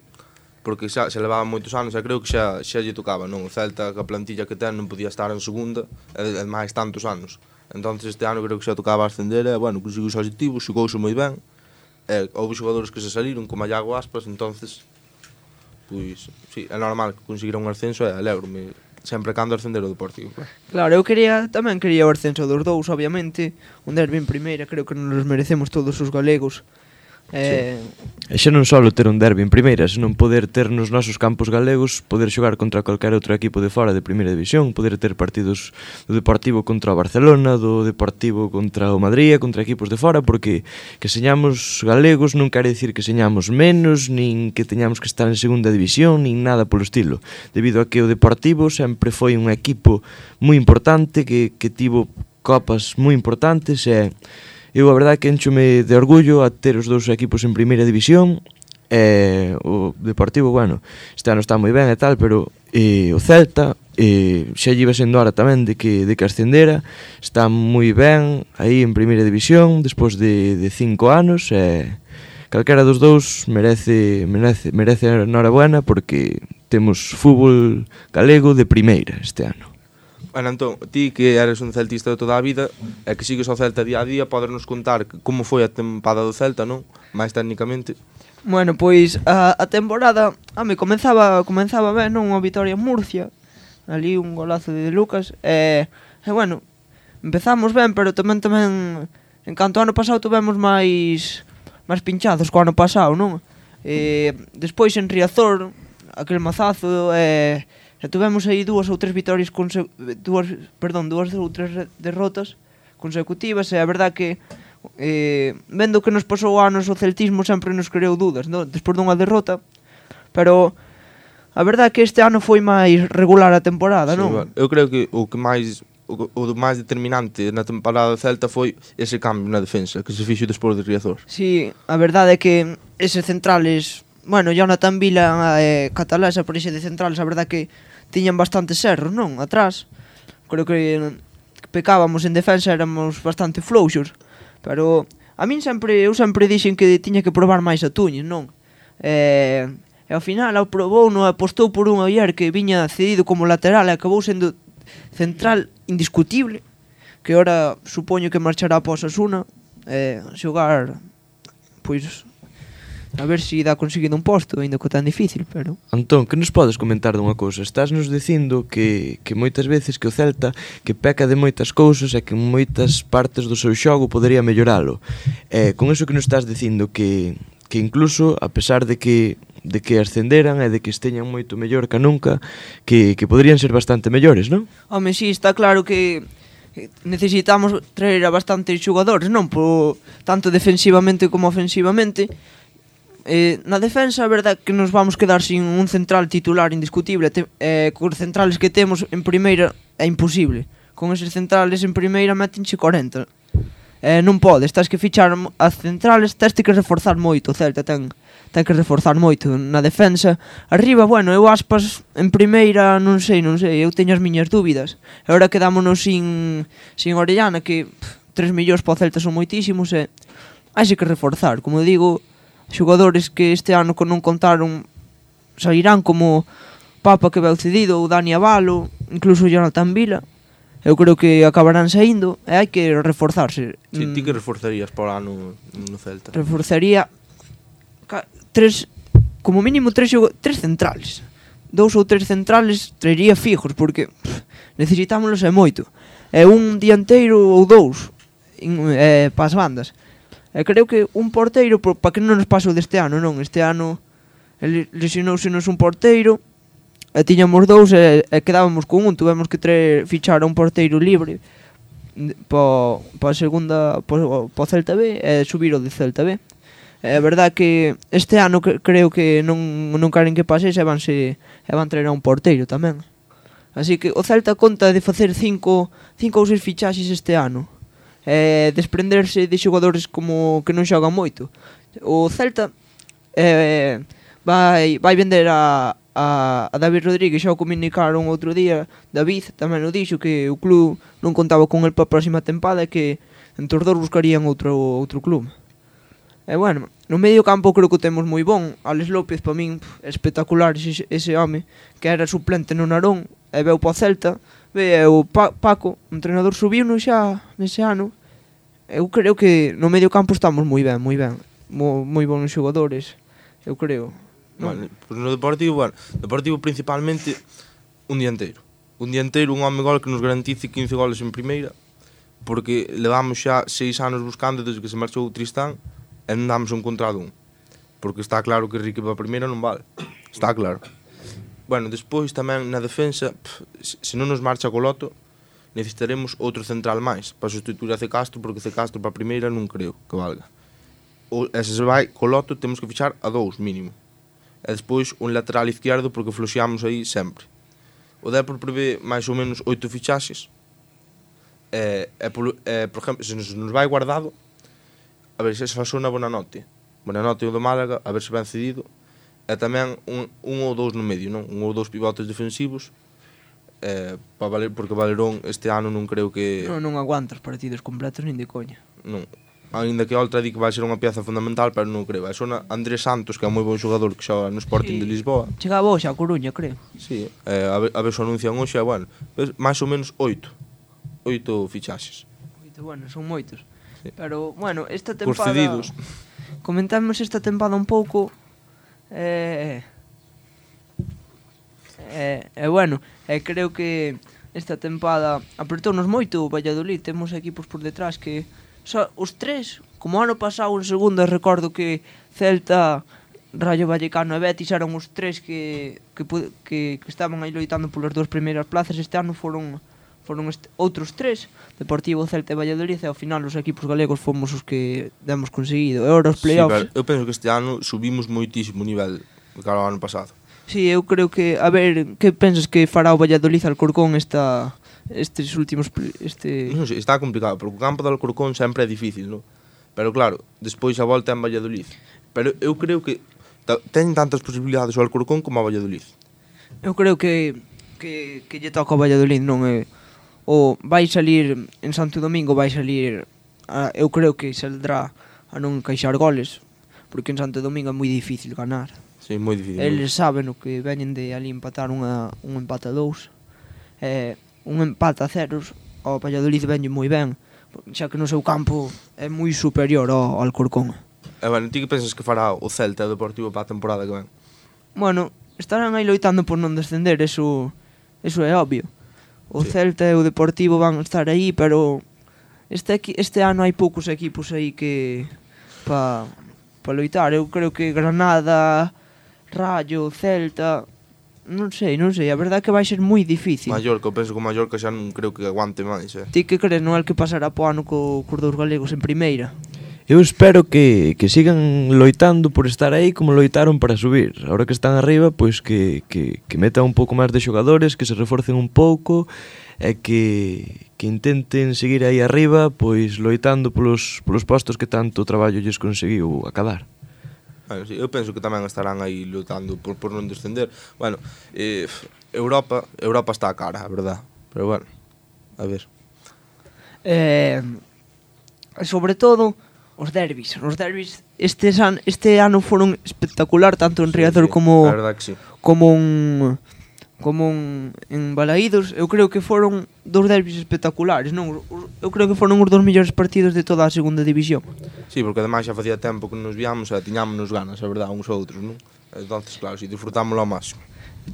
porque xa se levaba moitos anos e creo que xa lle tocaba, non? O Celta, que a plantilla que ten, non podía estar en segunda e máis tantos anos. Entonces este ano creo que xa tocaba ascender e, bueno, conseguiu os objetivos, xogouse moi ben. Houve xogadores que se saliron, como a Iago Aspas, entonces, pois, sí, é normal que conseguira un ascenso e alegro-me sempre cando ascender o Deportivo. Claro, eu tamén quería o ascenso dos dous, obviamente. Un derbi en primeira, creo que nos merecemos todos os galegos. E xa non só ter un derbi en primeira, senón poder ter nos nosos campos galegos, poder xogar contra calquer outro equipo de fora de primeira división, poder ter partidos do Deportivo contra o Barcelona, do Deportivo contra o Madrid, contra equipos de fora, porque que señamos galegos non quere dicir que señamos menos, nin que teñamos que estar en segunda división, nin nada polo estilo, debido a que o Deportivo sempre foi un equipo moi importante, que tivo copas moi importantes e... Eu a verdade que enchome de orgullo a ter os dous equipos en primeira división. O Deportivo, bueno, este ano está moi ben e tal, pero o Celta xa lle iba sendo hora tamén de que ascendera. Está moi ben aí en primeira división despois de 5 anos e calquera dos dous merece enhorabuena, porque temos fútbol galego de primeira este ano. Bueno, entón, ti que eres un celtista de toda a vida e que sigues ao Celta día a día, podernos contar como foi a tempada do Celta, non? Mais técnicamente. Bueno, pois a temporada comenzaba ben, non? Unha vitoria en Murcia, ali un golazo de Lucas e bueno, empezamos ben, pero tamén en canto ao ano pasado tuvemos máis pinchados co ano pasado, non? Despois en Riazor, aquel mazazo e tuvemos aí dúas ou tres derrotas consecutivas e a verdade que vendo que nos pasou anos o celtismo sempre nos creou dudas, non? Despois dunha derrota, pero a verdade que este ano foi máis regular a temporada, non? Eu creo que o o máis determinante na temporada do Celta foi ese cambio na defensa que se fixo despois de Riazor. Sí, a verdade é que eses centrales, bueno, Jonathan Vila e Catalasa por ese de centrales, a verdade que tiñan bastantes erros, non? Atrás. Creo que pecábamos en defensa, éramos bastante flouxos, pero a min eu sempre dixen que tiña que probar máis a Túñez, non? E ao final aprobou, non apostou por un Oyer que viña cedido como lateral e acabou sendo central indiscutible, que ora supoño que marchará após Osasuna xogar, pois a ver se dá conseguido un posto, ainda que tan difícil, pero... Antón, que nos podes comentar dunha cousa? Estás nos dicindo que moitas veces que o Celta que peca de moitas cousas e que en moitas partes do seu xogo podería melloralo. Con eso que nos estás dicindo que incluso, a pesar de que ascenderan e de que esteñan moito mellor que nunca, que poderían ser bastante mellores, non? Home, sí, está claro que necesitamos traer a bastantes xogadores, non? Tanto defensivamente como ofensivamente. Na defensa, a verdade que nos vamos quedar sin un central titular indiscutible. Cos centrales que temos en primeira é imposible. Con eses centrales en primeira metenche 40. Non podes, tens que fichar as centrales, tens que reforzar moito. O Celta ten que reforzar moito na defensa. Arriba, bueno, eu Aspas en primeira non sei, eu teño as miñas dúbidas. E agora quedámonos sin Orellana, que 3 millóns para o Celta son moitísimos e hai que reforzar. Como digo, xogadores que este ano non contaron sairán como Papa que veu cedido, ou Dani Avalo, incluso Jonathan Vila. Eu creo que acabarán saindo e hai que reforzarse. Si, ti que reforzarías para o ano no Celta? Reforzaría como mínimo tres centrales. 2 ou 3 centrales traería fijos, porque necesitámolos e moito. E un dianteiro ou 2 para as bandas. E creo que un porteiro, para que non nos pase o deste ano, non? Este ano lesionouse-nos un porteiro, e tiñamos 2 e quedábamos con un. Tuvemos que fichar a un porteiro libre para a segunda, para o Celta B, e subir o de Celta B. É verdade que este ano creo que non queren que pase e van traer a un porteiro tamén. Así que o Celta conta de facer 5 ou 6 fichaxes este ano, desprenderse de xogadores como que non xogan moito. O Celta vai vender a David Rodríguez. Xa o comunicaron outro día. David tamén o dixo, que o club non contaba con el para a próxima tempada e que entre os dous buscarían outro club. E bueno, no medio campo creo que o temos moi bon. Alex López, para min, espectacular ese home, que era suplente no Narón e veu para o Celta. Ve o Paco, o entrenador, subiu-no xa nese ano. Eu creo que no medio campo estamos moi ben, moi bons xogadores, eu creo. Vale, pues no Deportivo principalmente un dianteiro, un home gol que nos garantice 15 goles en primeira, porque levamos xa 6 anos buscando desde que se marchou Tristán e non damos encontrado un, porque está claro que Rique para a primeira non vale, está claro. Bueno, despois tamén na defensa, se non nos marcha Coloto, necesitaremos outro central máis para sustituir a C. Castro, porque C. Castro para a primeira non creo que valga. E se vai Coloto, temos que fichar a 2 mínimo. E despois un lateral izquierdo, porque floxeamos aí sempre. O Depor prevé máis ou menos 8 fichaxes. Por exemplo, se nos vai Guardado, a ver se fa sona Bonanote o do Málaga, a ver se ben cedido. E tamén un ou 2 no medio, non? 1 ou 2 pivotes defensivos, porque Valerón este ano non creo que... Non aguanta os partidos completos nin de coña. Non. Ainda que Oltra di que vai ser unha pieza fundamental, pero non creo. É sona Andrés Santos, que é un moi bon xogador que xoga no Sporting de Lisboa. Chegaba hoxe a Coruña, creo. Sí, a ver se anuncian hoxe, bueno, máis ou menos 8 fichaxes. 8, bueno, son moitos. Sí. Pero, bueno, esta tempada... Os cedidos. Comentamos esta tempada un pouco. Bueno, creo que esta tempada apertounos moito o Valladolid. Temos equipos por detrás que os 3, como ano pasado en segunda, recordo que Celta, Rayo Vallecano e Betis eran os 3 que estaban aí loitando polas 2 primeiras plazas. Este ano foron outros 3, Deportivo, Celta e Valladolid, e ao final os equipos galegos fomos os que demos conseguido. E agora os playoffs... Sí, eu penso que este ano subimos moitísimo o nivel do que era o ano pasado. Sí, eu creo que... A ver, que pensas que fará o Valladolid Alcorcón esta estes últimos Non sei, está complicado, porque o campo do Alcorcón sempre é difícil, non? Pero claro, despois a volta é en Valladolid. Pero eu creo que ten tantas posibilidades o Alcorcón como a Valladolid. Eu creo que lle toca ao Valladolid, non é? O vai salir en Santo Domingo, vai salir eu creo que saldrá a non encaixar goles, porque en Santo Domingo é moi difícil ganar. Sí, moi difícil. Eles saben o que veñen de ali empatar un empate a 2. Un empate a 0 ao Valladolid veñe moi ben, xa que no seu campo é moi superior ao Alcorcón. Bueno, ti que pensas que fará o Celta e o Deportivo para a temporada que ven? Bueno, estarán aí loitando por non descender, eso é obvio. O Celta e o Deportivo van estar aí, pero este ano hai poucos equipos aí que para loitar. Eu creo que Granada, Rayo, Celta, non sei, a verdade é que vai ser moi difícil. Mallorca, eu penso que o Mallorca xa non creo que aguante máis, Ti que crees, non é que pasará po ano cos dous galegos en primeira? Eu espero que sigan loitando por estar aí como loitaron para subir. Ahora que están arriba, pois que metan un pouco máis de xogadores, que se reforcen un pouco e que intenten seguir aí arriba, pois loitando polos postos que tanto traballo lles conseguiu acadar. Bueno, sí, eu penso que tamén estarán aí lutando por non descender. Bueno, Europa está a cara, a verdad. Pero bueno, a ver. Sobre todo os derbis. Os derbis este ano foron espectacular, tanto en Riazor como en Balaídos. Eu creo que foron dous derbis espectaculares, non? Eu creo que foron os dos mellores partidos de toda a segunda división. Sí, porque ademais xa facía tempo que nos víamos e tiñámonos ganas, a verdade, uns outros, non? Entonces, claro, si disfrutámoslo ao máximo.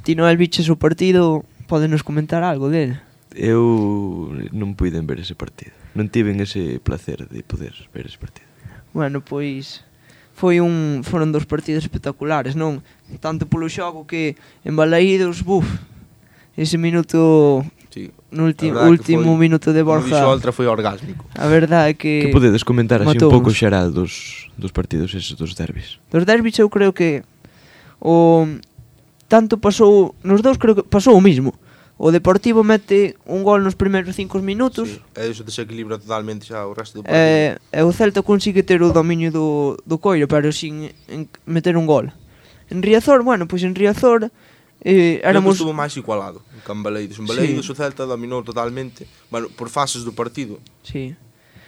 Ti, Noel, viches o partido, podenos comentar algo dele? Eu non puiden ver ese partido. Non tiven ese placer de poder ver ese partido. Bueno, pois foron dos partidos espectaculares, non? Tanto polo xogo que en Balaídos, ese minuto, sí, no último minuto de Borja. O Oltra foi orgásmico. A verdade é que que podedes comentar así un pouco xeral dos partidos eses dos derbis? Dos derbis eu creo que tanto pasou nos dous, creo que pasou o mismo. O Deportivo mete un gol nos primeiros 5 minutos. Sí, e iso desequilibra totalmente xa o resto do partido. E o Celta consigue ter o dominio do Coiro, pero sin meter un gol. En Riazor, pois en Riazor éramos... estuvo máis igualado que en Balaídos. En Balaídos o Celta dominou totalmente, por fases do partido. Sí.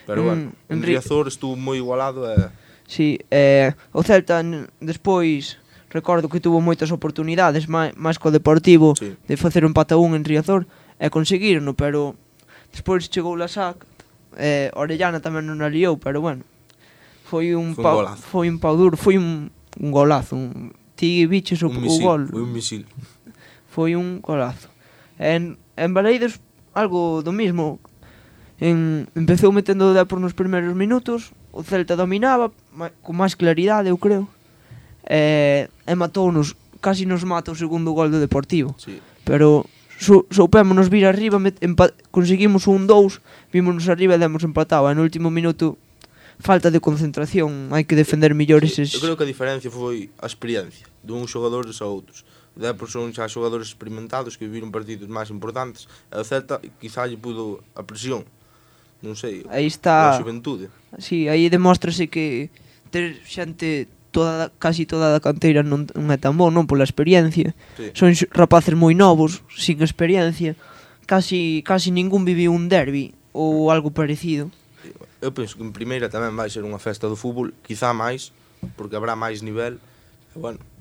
Pero en Riazor estuvo moi igualado Sí, o Celta despois... Recordo que tuvo moitas oportunidades máis co Deportivo, sí, de facer un empate a 1 en Riazor e conseguirno, pero despois chegou la SAC, Orellana tamén non a liou, pero foi un pau duro, foi un golazo. Ti biches o gol. Foi un misil. Foi un golazo. En Balaídos algo do mismo. Empezou metendo o Depor nos primeiros minutos, o Celta dominaba con máis claridade, eu creo. E matounos, casi nos mata o segundo gol do Deportivo, sí, pero soupémonos vir arriba, conseguimos un 2, vímonos arriba e demos empatado. E no último minuto, falta de concentración, hai que defender mellor eses... Eu creo que a diferencia foi a experiencia dun xogadores a outros. O Depor son xa xogadores experimentados que viviron partidos máis importantes, e o Celta quizá lle pudo a presión, non sei, aí está a xuventude. Sí, aí demóstrase que ter xente casi toda a canteira non é tan bon, non, pola experiencia. Sí. Son rapaces moi novos, sin experiencia. Casi ningún viviu un derbi ou algo parecido. Eu penso que en primeira tamén vai ser unha festa do fútbol, quizá máis, porque habrá máis nivel. E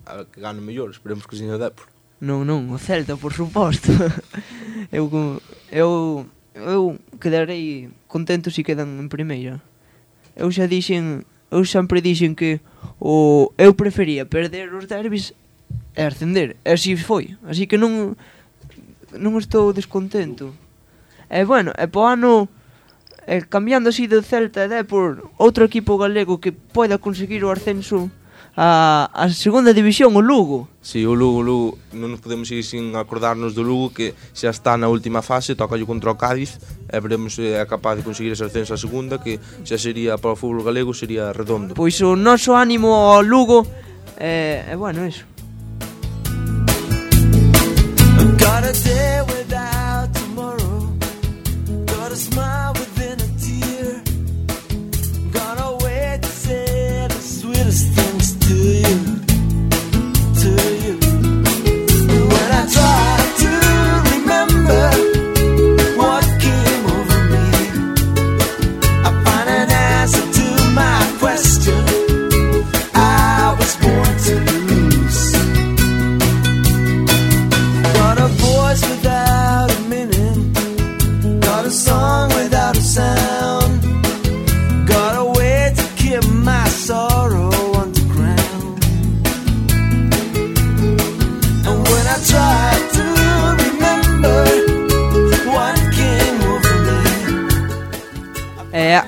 a que gane mellor, esperemos que seña Depor. Non, o Celta, por suposto. eu quedarei contento se quedan en primeira. Eu sempre dixen que eu prefería perder os derbis e ascender, e así foi, así que non estou descontento. E po ano, cambiando así do Celta e Depor, outro equipo galego que poida conseguir o ascenso a segunda división, o Lugo. Si, o Lugo, non nos podemos ir sin acordarnos do Lugo, que xa está na última fase, toca contra o Cádiz, e veremos se é capaz de conseguir ese ascenso a segunda, que xa sería para o fútbol galego, sería redondo. Pois o noso ánimo ao Lugo, eso.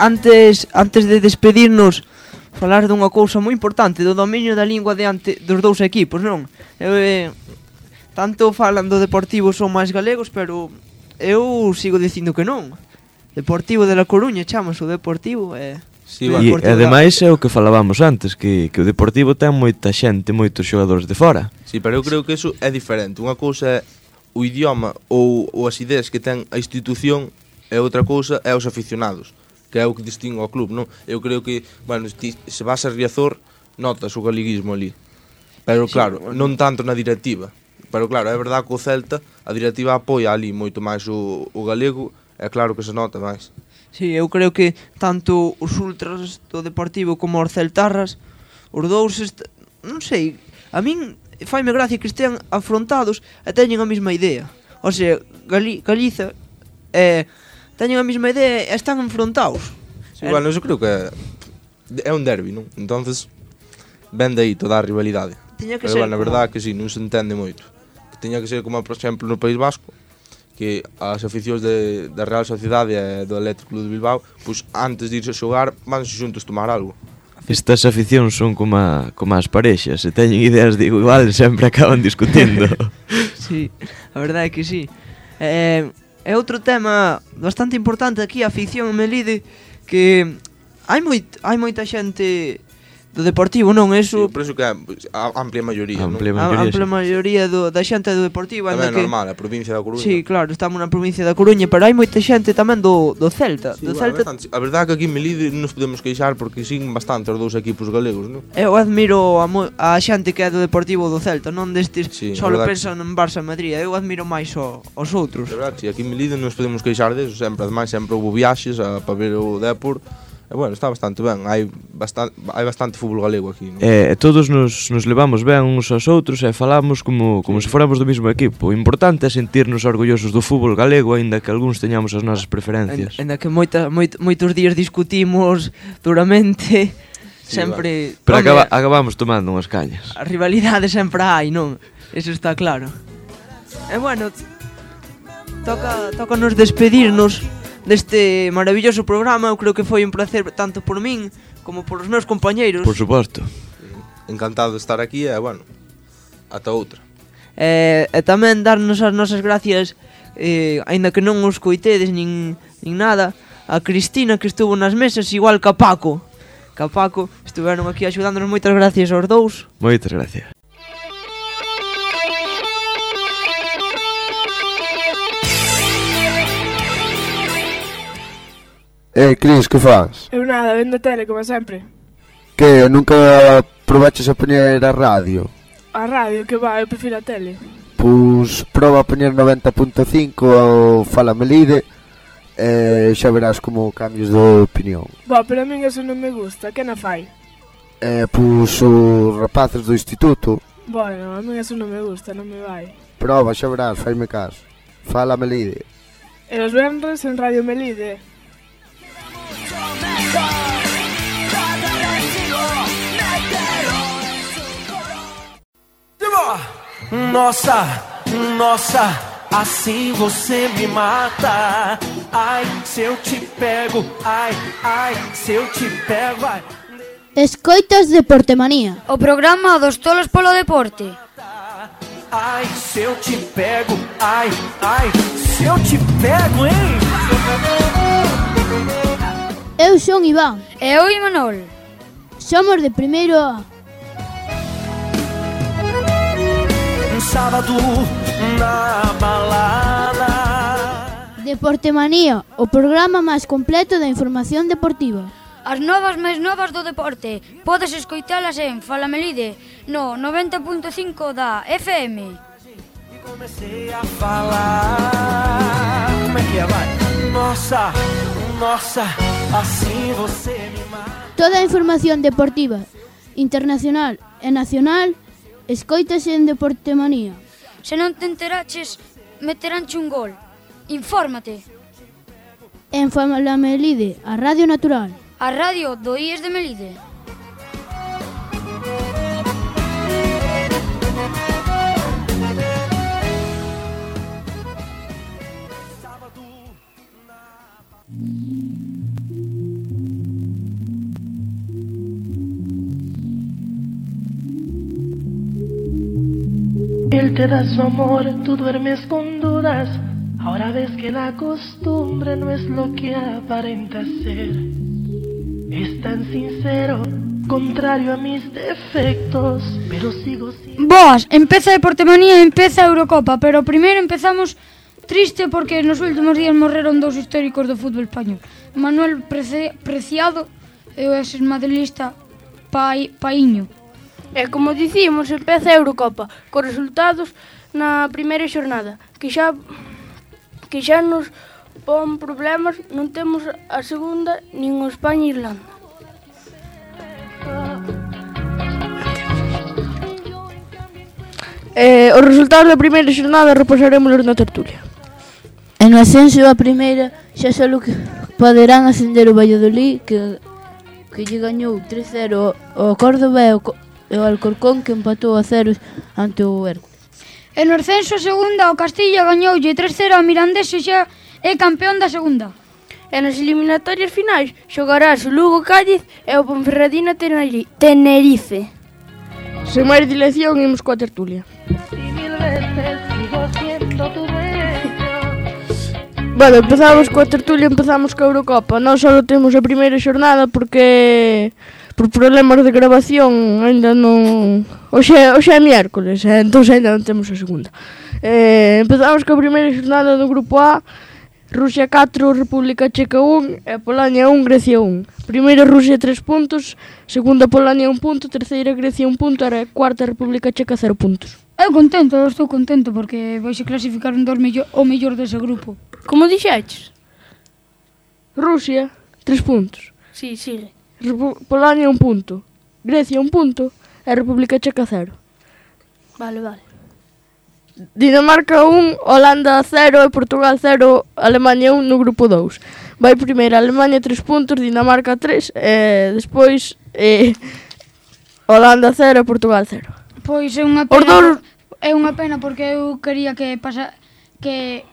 antes de despedirnos, falar dunha cousa moi importante, do dominio da lingua diante dos dous equipos, non? Tanto falan do Deportivo son máis galegos, pero eu sigo dicindo que non. Deportivo de La Coruña, chamase o Deportivo, Sí, e ademais é o que falábamos antes, que o Deportivo ten moita xente, moitos xogadores de fora. Sí, pero eu creo que eso é diferente. Unha cousa é o idioma ou as ideas que ten a institución, e outra cousa é os aficionados, que é o que distingue ao club, non? Eu creo que, bueno, se vas a Riazor, notas o galeguismo ali. Pero claro, sí, non tanto na directiva. Pero claro, é verdade que o Celta, a directiva apoia ali moito máis o galego, é claro que se nota máis. Sí, eu creo que tanto os ultras do Deportivo como os celtarras, os dous, non sei, a min faime gracia que estean afrontados e teñen a mesma idea. O sea, Galiza teñen a mesma idea e están enfrontados. Sí, bueno, eu creo que é un derbi, non? Entonces, ven de aí toda a rivalidade. Pero, bueno, a verdade é que sí, non se entende moito. Que teña que ser como, por exemplo, no País Vasco, que as aficións da Real Sociedade e do Atlético Club de Bilbao, pois antes de irse a xogar, vanse xuntos tomar algo. Estas aficións son como as parexas, se teñen ideas de igual, sempre acaban discutindo. Sí, a verdade é que sí. É outro tema bastante importante aquí, a afición en Melide, que hai moita xente do Deportivo, non? Eso, sí, por iso que é a amplia maioría, non? A amplia maioría da xente do Deportivo. Tamén é normal, a provincia da Coruña. Sí, claro, estamos na provincia da Coruña, pero hai moita xente tamén do Celta. Sí, Celta. A verdade é que aquí en Melide non nos podemos queixar porque siguen bastante os dous equipos galegos, non? Eu admiro a xente que é do Deportivo do Celta, non destes só pensan en Barça e Madrid. Eu admiro máis os outros. É verdade, sí, aquí en Melide non nos podemos queixar deso, sempre, ademais, sempre houve viaxes para ver o Depor. E bueno, está bastante ben, hai bastante fútbol galego aquí, non? Todos nos levamos ben uns aos outros e falamos como se fóramos do mesmo equipo. O importante é sentirnos orgullosos do fútbol galego, aínda que algúns teñamos as nosas preferencias. Aínda que moitos días discutimos duramente, sí, sempre... Pero acabamos tomando unhas cañas. A rivalidade sempre hai, non? Eso está claro. E bueno, toca nos despedirnos deste maravilloso programa. Eu creo que foi un placer tanto por min como por os meus compañeiros. Por suposto. Encantado de estar aquí e, bueno, ata outra. E tamén darnos as nosas gracias, aínda que non os coitedes nin nada, a Cristina que estuvo nas mesas, igual que a Paco. Estiveron aquí axudándonos. Moitas gracias aos dous. Moitas gracias. Cris, que faz? Eu nada, vendo a tele, como sempre. Que, nunca probaches a poñer a radio? A radio, que va, eu prefiro a tele. Pois proba a poñer 90.5 ao Fala Melide e xa verás como cambios de opinión. Bo, pero a min eso non me gusta, que na fai? Pois os rapaces do instituto. Bueno, a min eso non me gusta, non me vai. Proba, xa verás, faime caso. Fala Melide. E os venres en Radio Melide. Nossa, assim você me mata. Ai, se eu te pego, ai, se eu te pego, ai. Escoitas Deportemanía, o programa dos tolos polo deporte. Ai, se eu te pego, ai, se eu te pego, hein? Eu son Iván. E eu Imanol. Somos de primeiro A. Sábado na balada. Deportemanía, o programa máis completo da información deportiva. As novas máis novas do deporte podes escoitalas en Fala Melide no 90.5 da FM. Comecei a falar. Como é que é, vai? Nossa, assim você me mata. Toda a información deportiva, internacional e nacional, escoítase en Deportemanía. Se non te enteraches, meteránche un gol. Infórmate. En Fala Melide, a Radio Natural. A radio do IES de Melide. Él te da su amor, tú duermes con dudas. Ahora ves que la costumbre no es lo que aparenta ser. Es tan sincero, contrario a mis defectos, pero sigo siendo... Boas, empeza Deportemanía, empeza a Eurocopa, pero primeiro empezamos triste porque nos últimos días morreron dous históricos do fútbol español. Manuel Preciado e o ex-madrilista Paíño. E como dicimos, empeza a Eurocopa, con resultados na primeira xornada, que xa nos pon problemas, non temos a segunda, nin o España e Irlanda. Os resultados da primeira xornada repasaremos na tertulia. En o ascenso a primeira xa só que poderán ascender o Valladolid que lle gañou 3-0 ao Córdoba e o Alcorcón que empatou a 0 ante o Hércules. En o ascenso a segunda o Castilla gañoulle 3-0 ao Mirandés e xa é campeón da segunda. E nas eliminatorias finais xogarás o Lugo Cádiz e o Ponferradina Tenerife. Sen máis dilación, imos coa tertulia. Bueno, empezamos coa tertulia, empezamos coa Eurocopa. Nós só temos a primeira xornada porque por problemas de grabación ainda non... Hoxe é miércoles, entón ainda non temos a segunda. Empezamos coa primeira xornada do grupo A. Rusia 4, República Checa 1 e Polonia 1, Grecia 1. Primeira Rusia 3 puntos, segunda Polonia 1 punto, terceira Grecia 1 punto e cuarta República Checa 0 puntos. Estou contento porque vais a clasificar o mellor dese grupo. Como dixeches? Rusia 3 puntos. Sí, sigue. Polonia 1 punto, Grecia 1 punto e República Checa 0. Vale. Dinamarca 1, Holanda 0 e Portugal 0, Alemania 1 no grupo 2. Vai primeiro Alemania 3 puntos, Dinamarca 3 e despois Holanda 0 e Portugal 0. Pois é unha pena, porque eu quería que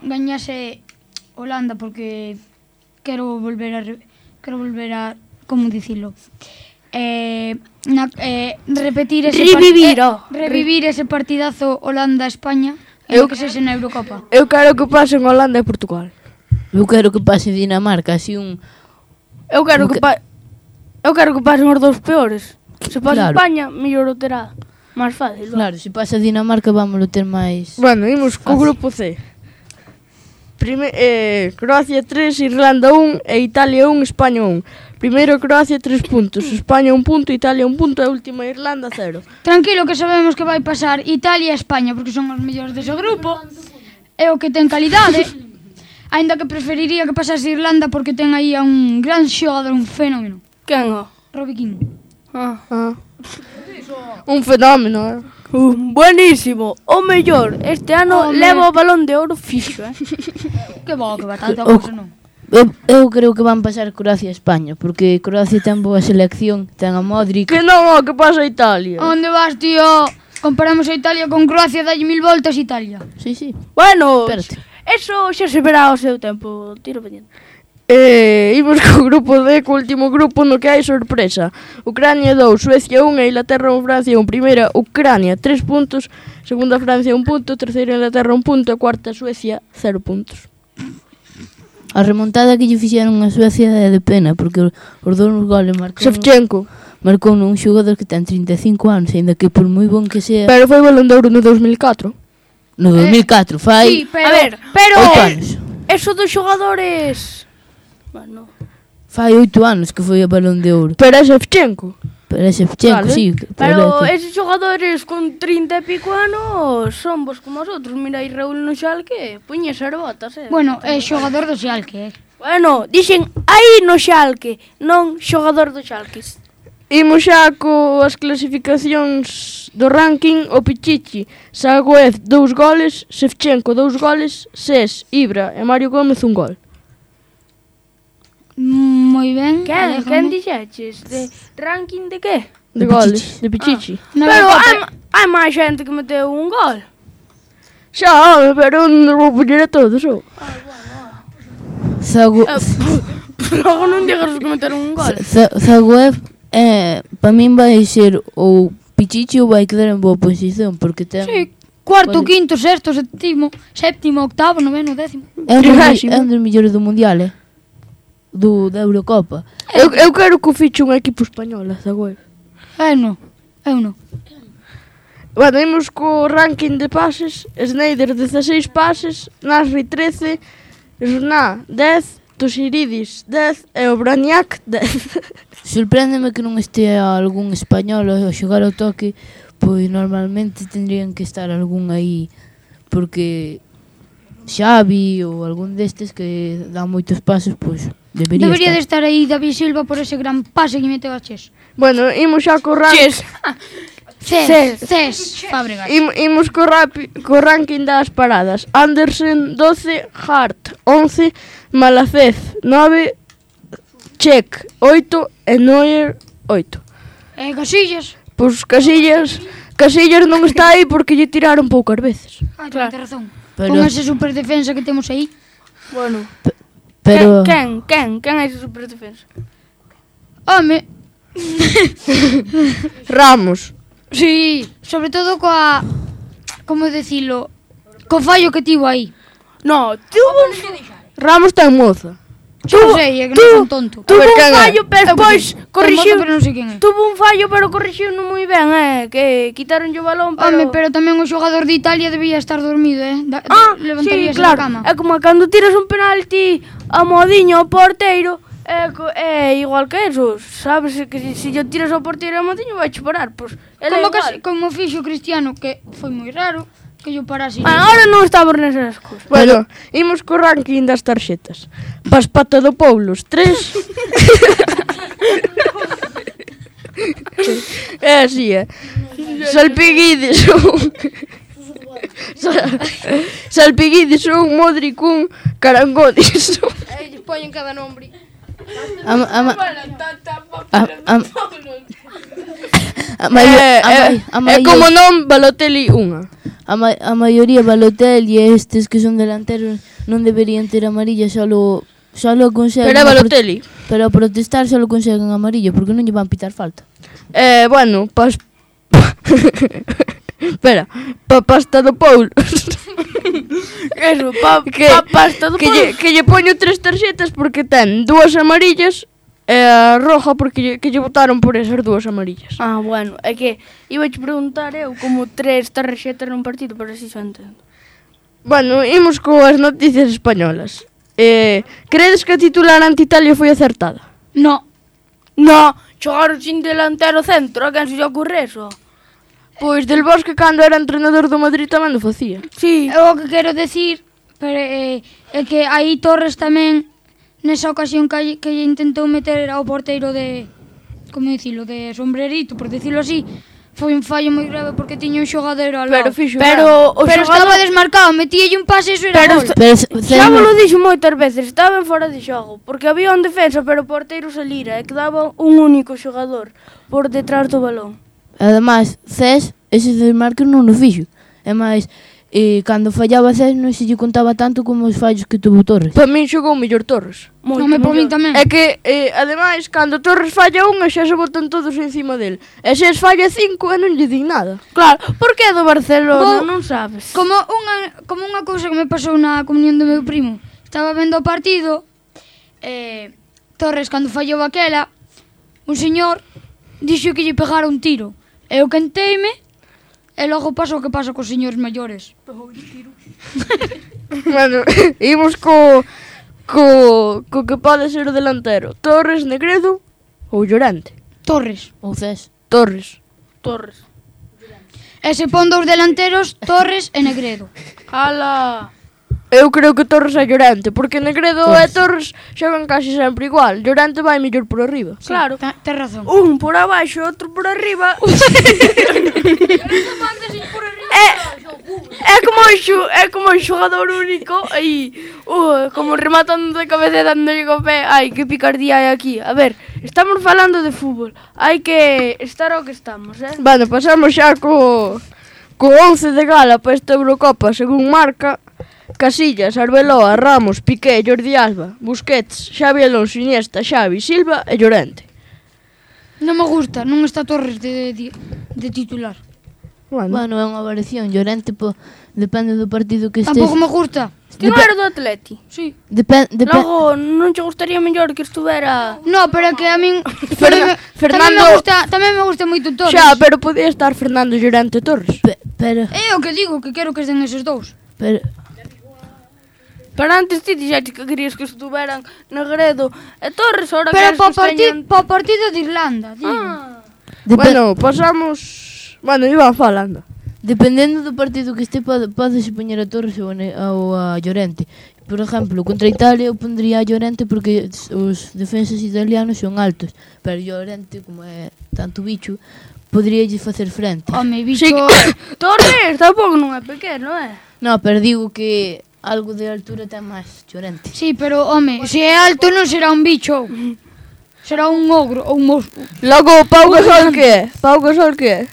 gañase Holanda porque quero volver a como dicilo? Revivir ese partidazo Holanda-España e que sexe na Eurocopa. Eu quero que pasen Holanda e Portugal. Eu quero que pase Dinamarca, así un... Eu quero que pasen os dous peores. Se pasa España, mellor o terá. Máis fácil. Claro, se pasa Dinamarca vamos ter máis... Bueno, imos co grupo C. Croacia 3, Irlanda 1 e Italia 1, España 1. Primeiro Croacia 3 puntos, España 1 punto, Italia 1 punto e última Irlanda 0. Tranquilo que sabemos que vai pasar Italia e España porque son os mellores dese grupo. É o que ten calidade. Ainda que preferiría que pasase Irlanda porque ten aí a un gran xogador, un fenómeno. Quen o? Robbie Keane. Un fenómeno, buenísimo, o mellor. Este ano leva o balón de ouro fixo, Que bo, que va tanta cousa, non? Eu creo que van pasar Croacia e España, porque Croacia ten boa selección, ten a Modric. Que non, que pasa a Italia? Onde vas, tío? Comparamos a Italia con Croacia, dalle 1000 voltas a Italia. Sí. Bueno, eso xa se verá ao seu tempo, tiro pendiente. Imos co grupo D, co último grupo no que hai sorpresa. Ucrania 2, Suecia 1 e Inglaterra 1, Francia 1. Primeira, Ucrania 3 puntos, segunda Francia 1 punto, terceira Inglaterra 1 punto e cuarta Suecia 0 puntos. A remontada que lle fixeron a Suecia é de pena, porque os dous goles Shevchenko marcou un xogador que ten 35 anos, ainda que por moi bon que sea... Pero foi balón de ouro no 2004. No 2004, fai... Sí, pero 8 anos. Eso dos xogadores... Bueno... Fai 8 anos que foi a balón de ouro. Pero é Shevchenko. Vale. Sí. Pero esos xogadores con 30 e pico anos son vos como os outros. Mira aí Raúl no Xalque, puñes as botas, Bueno, é xogador do Xalque, Bueno, dixen aí no Xalque, non xogador do Xalque. Imos xa coas clasificacións do ranking. O Pichichi, Zagoev 2 goles, Shevchenko 2 goles, Ses, Ibra e Mario Gómez 1 gol. Moi ben. Quen dixeches? De ranking de que? De goles, de Pichichi. Pero hai máis xente que meteu un gol. Xa, pero non vou poñer a todos, Logo non digas que meteron un gol. Zagoev, para min vai ser ou Pichichi ou vai quedar en boa posición, porque ten... Sí, cuarto, quinto, sexto, séptimo, octavo, noveno, décimo. É un dos mellores do Mundial, da Eurocopa. Eu quero que o fiche un equipo español, Zagüero. Eu non. Bueno, imos co ranking de pases. Sneijder 16 pases, Nasri 13, Jorná 10, Toshiridis 10 e o Braniak 10. Sorpréndeme que non estea algún español a xogar ao toque, pois normalmente tendrían que estar algún aí, porque Xavi ou algún destes que dá moitos pases, pois debería de estar aí David Silva por ese gran pase que meteu a Ches. Bueno, imos xa co ranking. Ces Fábregas. Imos co ranking das paradas. Andersen 12, Hart 11, Malacez 9, Check 8 e Neuer 8. E Casillas? Pois Casillas non está aí porque lle tiraron poucas veces. Claro. Ten razón. Con esa superdefensa que temos aí. Bueno. Pero Quen é esa superdefensa? Home. Ramos. Sí, sobre todo coa... Como decilo? Co fallo que tivo aí. No, Ramos ten moza. Non sei, é que non son tonto. Tuvo un fallo, pero despois corrixiu. Pero non sei quen é. Tuvo un fallo, pero corrixiu non moi ben, que quitaron o balón, pero... Home, pero tamén o xogador de Italia debía estar dormido, levantaríase sí, claro. da cama. É como cando tiras un penalti a modiño ao porteiro, é igual que eso, sabes que se yo tiras ao porteiro a modiño vai parar, pois como fixo Cristiano, que foi moi raro que yo parase. Agora non estamos nesas cousas. Bueno, imos co ranking das tarxetas. Paspatadopoulos 3. É así, Salpiguides 1. Salpiguides 1, Modric 1, Carangodis 1. Poñen cada nombre. É como non Balotelli 1. A maioría Balotelli e estes que son delanteros non deberían ter amarilla, solo conseguen... Pero é Balotelli. Pero a protestar solo conseguen amarilla, porque non lle van pitar falta. Bueno, espera, Paspatadopoulos. Eso, Paspatadopoulos. Que lle poño 3 tarxetas porque ten 2 amarillas e a roja porque lle botaron por esas 2 amarillas. Bueno, é que iba a te preguntar eu como 3 tarxetas nun partido, pero así xa entendo. Bueno, imos coas noticias españolas. Credes que a titular ante Italia foi acertada? No, xogaron sin delantero centro, a quen se lle ocurre eso? Pois Del Bosque cando era entrenador do Madrid tamén o facía. Sí. O que quero decir é que aí Torres tamén nesa ocasión que intentou meter ao porteiro de, como dicilo, de sombrerito, por decirlo así, foi un fallo moi grave porque tiña un xogador ao lado. Pero estaba desmarcado, metíalle un pase e iso era gol. Xa vos lo dixo moitas veces, estaba en fora de xogo, porque había un defensa, pero o porteiro salira e quedaba un único xogador por detrás do balón. Ademais, Cés, ese desmarque non o fixo. E máis, cando fallaba Cés non se lle contaba tanto como os fallos que tuvo Torres. Para min xogou mellor Torres. Para min tamén. É que, ademais, cando Torres falla unha xa se botan todos encima del. E se falla 5 e non lle din nada. Claro, porque é do Barcelona, non sabes. Como unha cousa que me pasou na comunión do meu primo. Estaba vendo o partido, Torres cando fallou aquela, un señor dixo que lle pegara un tiro. Eu quenteime e logo pasa o que pasa cos señores maiores. Bueno, imos co que pode ser o delantero. Torres, Negredo ou Llorente? Torres. Ou Cés? Torres. E se pon dous delanteros, Torres e Negredo. Ala. Eu creo que Torres é Llorente, porque Negredo e Torres xogan casi sempre igual. Llorente vai mellor por arriba. Claro. Ten razón. Un por abaixo, outro por arriba. É como un xogador único aí, como rematando de cabeza dándolle co pé. Ai, que picardía hai aquí. A ver, estamos falando de fútbol. Hai que estar ao que estamos, Bueno, pasamos xa co 11 de gala para esta Eurocopa, según marca. Casillas, Arbeloa, Ramos, Piqué, Jordi Alba, Busquets, Xavi Alonso, Iniesta, Xavi, Silva e Llorente. Non me gusta, non está Torres de titular. Bueno, é unha variación. Llorente, depende do partido que estés. Tampouco me gusta. Ti non era do Atleti? Sí. Logo, non che gustaría mellor que estuvera... No, pero é que a min... Fernando... Tamén me gusta moito Torres. Xa, pero podía estar Fernando Llorente Torres. Pero... É o que digo, que quero que estén eses dous. Pero antes ti dixaste que querías que estuveran Negredo e Torres, ahora pero queres que pa partido de Irlanda, digo. Bueno, pasamos... Bueno, iba falando. Dependendo do partido que este, podese poñer a Torres ou a Llorente. Por exemplo, contra Italia eu pondría a Llorente porque os defensas italianos son altos. Pero Llorente, como é tanto bicho, poderíalle facer frente. Home, bicho... Sí, Torres tampouco non é pequeno, é? No, pero digo que algo de altura ten máis Llorente. Sí, pero, home, se é alto non será un bicho. Será un ogro ou un monstro. Logo, Pau Gasol que é? Pau Gasol que é?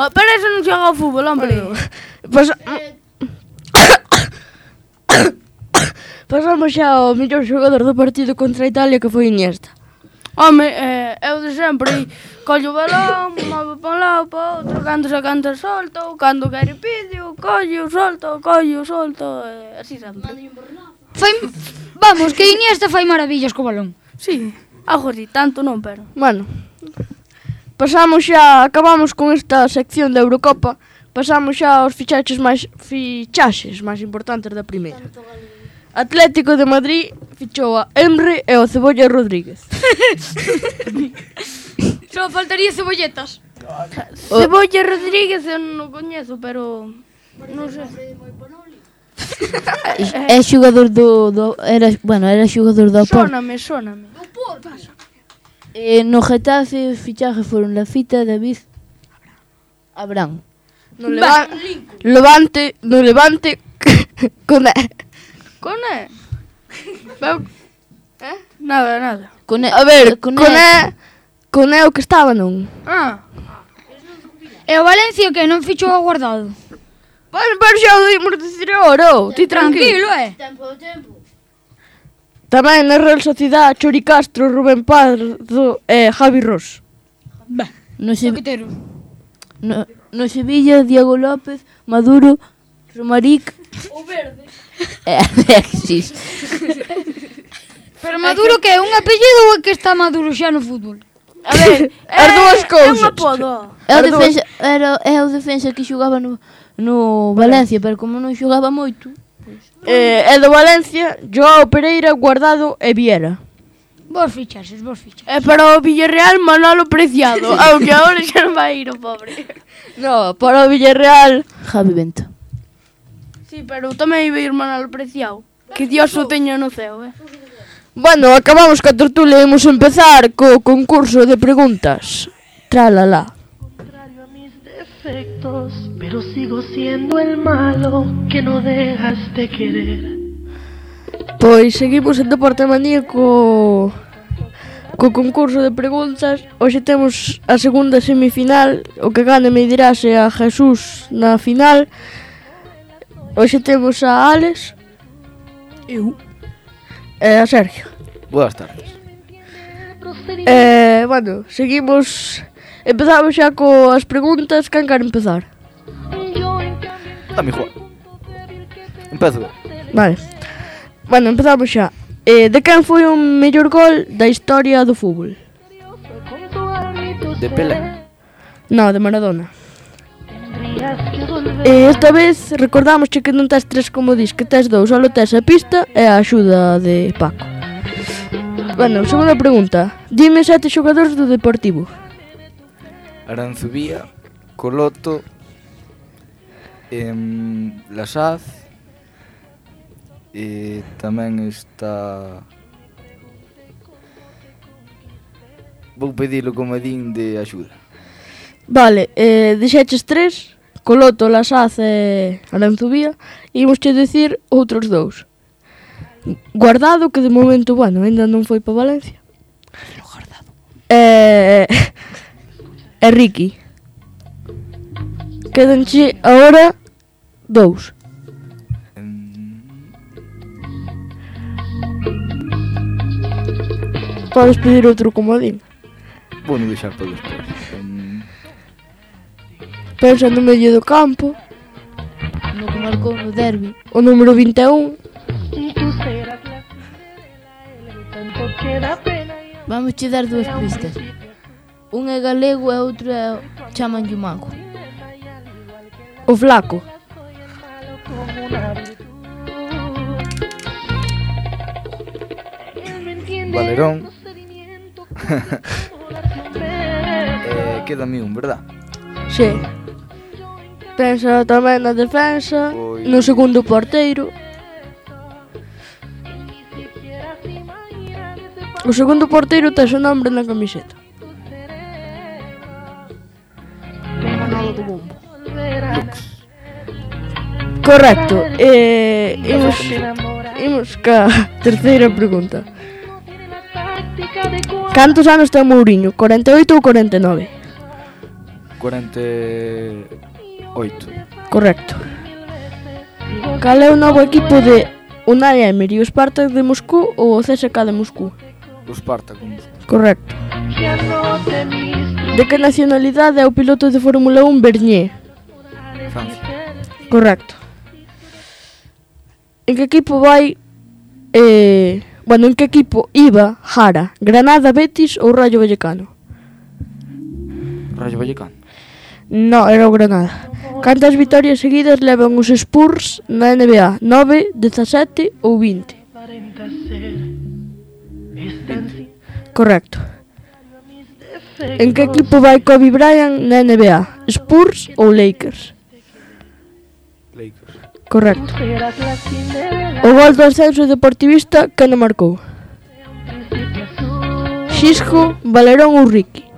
Pero eso non xoga ao fútbol, hombre. Pasamos xa ao mellor xogador do partido contra Italia, que foi Iniesta. Home, é o de sempre. Collo o balón, move pa un lado, pa outro, cando se canta solto, cando quere pidio, collo, solto, así sempre. Vamos, que Iniesta fai maravillas co balón. Sí, algo así, tanto non, pero... Bueno, pasamos xa, acabamos con esta sección da Eurocopa, pasamos xa aos fichaxes máis importantes da primeira. Atlético de Madrid fichou a Emre e o Cebolla Rodríguez. Só faltaría cebolletas. Cebolla Rodríguez eu non o coñezo, pero non sei. É xogador era xogador do Porto. Sóname. No Getafe os fichajes foron Lafita, David, Abraham. No Levante Coné. Coné? Nada. A ver, Coné o que estaba, non? E o Valencia que non fichou a Guardado? Pero xa o dimos dicir agora, ti tranquilo. Tempo. Tamén na Real Sociedade, Chori Castro, Rubén Pardo e Javi Ross. No Sevilla, Diego López, Maduro, Romaric o Verde e Alexis. Pero Maduro que é un apellido ou é que está Maduro xa no fútbol? A ver, as dúas cousas. É un apodo. É o defensa que xogaba no Valencia, pero como non xogaba moito... É do Valencia, Joao Pereira, Guardado e Viera. Vos fichaxes. Para o Villarreal, Manolo Preciado. Aunque agora xa non vai ir o pobre. No, para o Villarreal, Javi Bento. Sí, pero tamén iba ir Manolo Preciado. Que Dios o teña no ceo, Bueno, acabamos ca tertulia e imos empezar co concurso de preguntas. Tralala. Pero sigo siendo el malo que no dejas de querer. Pois seguimos en Deporte Manía co concurso de preguntas. Hoxe temos a segunda semifinal. O que gane me dirase a Jesús na final. Hoxe temos a Alex, eu e a Sergio. Boas tardes. Bueno, seguimos. Empezamos xa coas preguntas. Quen quer empezar? Dame igual. Empezo. Vale. Bueno, empezamos xa. De quen foi o mellor gol da historia do fútbol? De Pelé. No, de Maradona. Esta vez recordamos que non tes 3 como dis, que tes 2, só tes a pista e a axuda de Paco. Bueno, segunda pregunta. Dime 7 xogadores do Deportivo. Aranzubía, Coloto, Lasaz, e tamén está... Vou pedilo comedín de axuda. Vale, dixeches 3, Coloto, Lasaz e Aranzubía, e imos che dicir outros 2. Guardado, que de momento, bueno, ainda non foi para Valencia. Guardado. E Ricky. Quedanche agora 2. Podes pedir outro comodín. Vou non deixar para despois. Pensa no medio do campo. No que marcou no derbi. O número 21. Vamos che dar dúas pistas. Un é galego e outro é chamanlle o mago. O flaco. Valerón. Quédame un, verdad? Sí. Pensa tamén na defensa, no segundo porteiro. O segundo porteiro ten o nombre na camiseta. Manolo do bombo. Correcto. Imos ca terceira pregunta. Cantos anos ten Mourinho? 48 ou 49? 48. Correcto. Cal é o novo equipo de Unai Emery, o Spartak de Moscú ou o CSKA de Moscú? O Spartak de Moscú. Correcto. De que nacionalidade é o piloto de Fórmula 1 Bernier? Francia. Correcto. En que equipo vai... en que equipo iba Jara? Granada, Betis ou Rayo Vallecano? Rayo Vallecano. No, era o Granada. Cantas vitorias seguidas levan os Spurs na NBA? 9, 17 ou 20? Correcto. En que equipo vai Kobe Bryant na NBA? Spurs ou Lakers? Lakers. Correcto. O gol do ascenso deportivista que non marcou? Xisco, Valerón ou Ricky?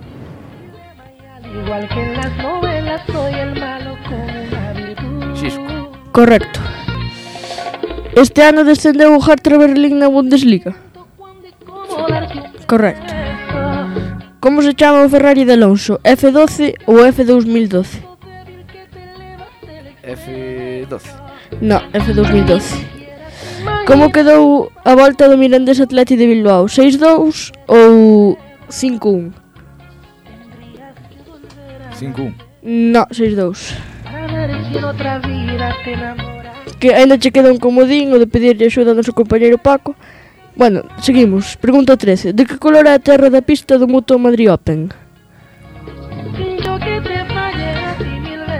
Xisco. Correcto. Este ano descendeu o Hertha Berlín na Bundesliga? Correcto. Como se chama o Ferrari de Alonso? F12 ou F2012? F12. No, F2012. Como quedou a volta do Mirandés Athletic de Bilbao? 6-2 ou 5-1? 5-1. No, 6-2. Que ainda che queda un comodín o de pedirlle axuda ao noso compañeiro Paco. Bueno, seguimos. Pregunta 13. De que color é a terra da pista do Mutua Madrid Open?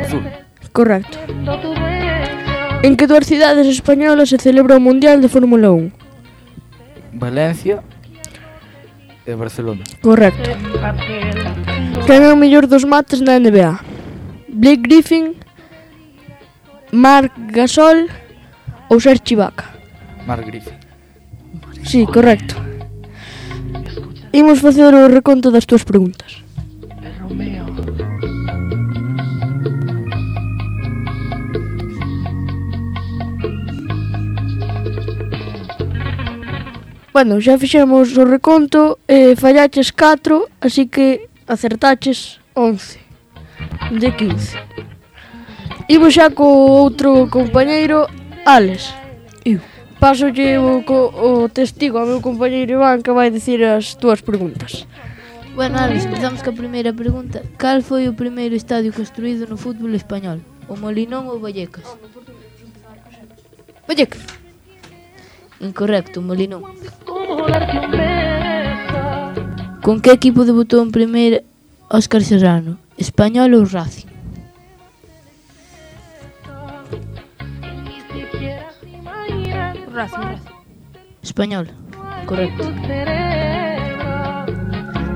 Azul. Correcto. En que dúas cidades españolas se celebra o Mundial de Fórmula 1? Valencia e Barcelona. Correcto. Quen é o mellor dos mates na NBA? Blake Griffin, Marc Gasol ou Serge Ibaka? Marc Griffin. Sí, correcto. Imos facer o reconto das túas preguntas. Bueno, xa fixemos o reconto, fallaches 4, así que acertaches 11 de 15. Imos xa co outro compañeiro, Alex. Pásolle o testigo ao meu compañeiro Iván que vai dicir as túas preguntas. Bueno, Alex, empezamos ca primeira pregunta. Cal foi o primeiro estadio construído no fútbol español? O Molinón ou Vallecas? Vallecas. Incorrecto, Molinón. Con que equipo debutou en primeira Óscar Serrano? Español ou Racing? Racing. Español. Correcto.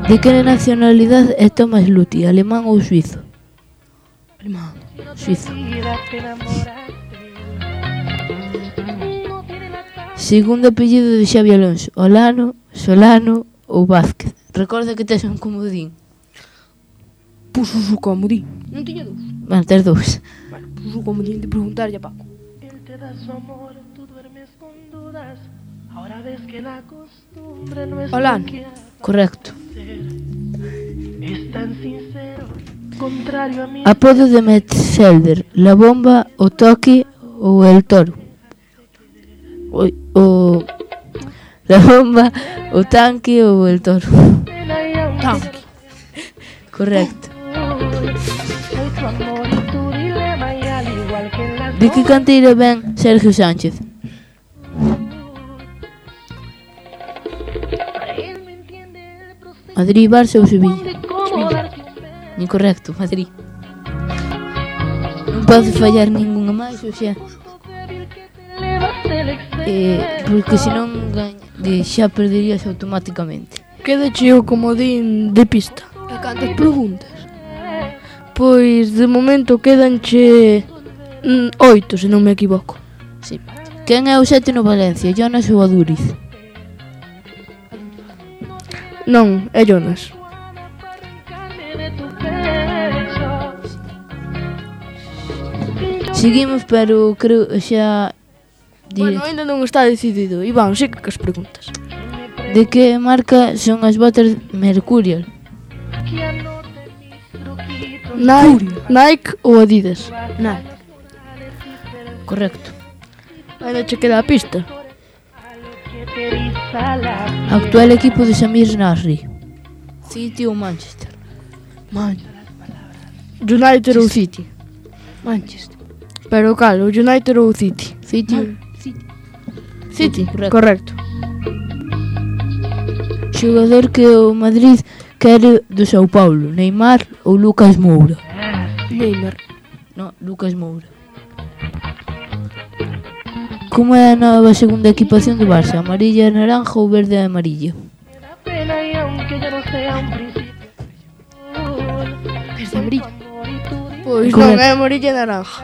De que nacionalidade é Thomas Luthi? Alemán ou suizo? Alemán. Suizo. Segundo apellido de Xabi Alonso: Olano, Solano ou Vázquez? Recorda que tes un comodín. Puxo o comodín. Non tiña dous. Bueno, tes dous. Bueno, puxo o comodín de preguntarlle a Paco. Olano. Correcto. Apodo de Metzelder: La Bomba, o Toque ou El Toro? La Bomba, o Tanque ou El Toro? Tanque. Correcto. De que canteira ven Sergio Sánchez? Madrid, Barça ou Sevilla? Incorrecto, Madrid. Non pode fallar ningunha máis, ou xa. Porque senón xa perderías automáticamente. Quédache o comodín de pista. E cantas preguntas? Pois de momento quédanche 8, se non me equivoco. Sí. Quen é o 7 no Valencia, Jonas ou Aduriz? Non, é Jonas. Seguimos, pero creo xa... Bueno, ainda non está decidido. Iván, siga que as preguntas. De que marca son as botas Mercurial? Nike ou Adidas? Nike. Correcto. Ainda che queda a pista. Actual equipo de Samir Nasri. City ou Manchester? United ou City? Manchester. Pero cal, o United ou City? City, correcto. Xogador que o Madrid quere do Sao Paulo, Neymar ou Lucas Moura? Neymar. No, Lucas Moura. Como é a nova segunda equipación do Barça? Amarilla, naranja ou verde e amarilla? Verde e amarilla. Pois non, é amarilla e naranja.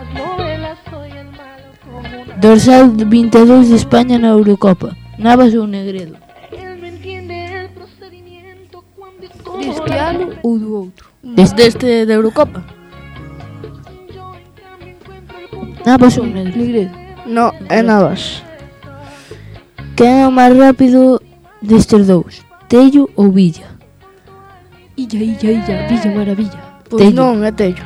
Dorsal 22 de España na Eurocopa, Navas ou Negredo? Deste ano ou do outro? Deste da Eurocopa. Navas ou Negredo? No, é Navas. Quen é o máis rápido destes dous? Tello ou Villa? Illa, Villa Maravilla. Pois non, é Tello.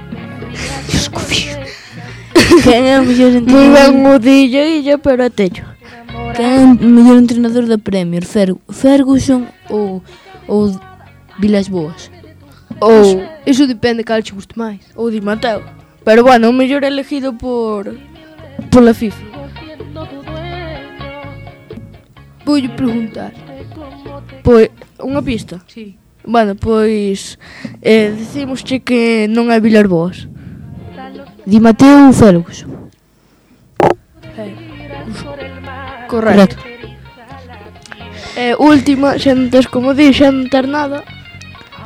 Quen é o mellor Moi entrenador? ben o de Illa, pero é Tello. Quen é o mellor entrenador da Premier? Ferguson ou Vilas Boas? Ou Eso depende cal che guste máis. ou Di Matteo. Pero bueno, o mellor elegido pola FIFA. Voulle preguntar. Pois, unha pista. Sí. Bueno, pois dicimosche que non é Vilas Boas. Di Matteo ou Ferguson? Correcto. Última, xa non tes como di, xa non tes nada.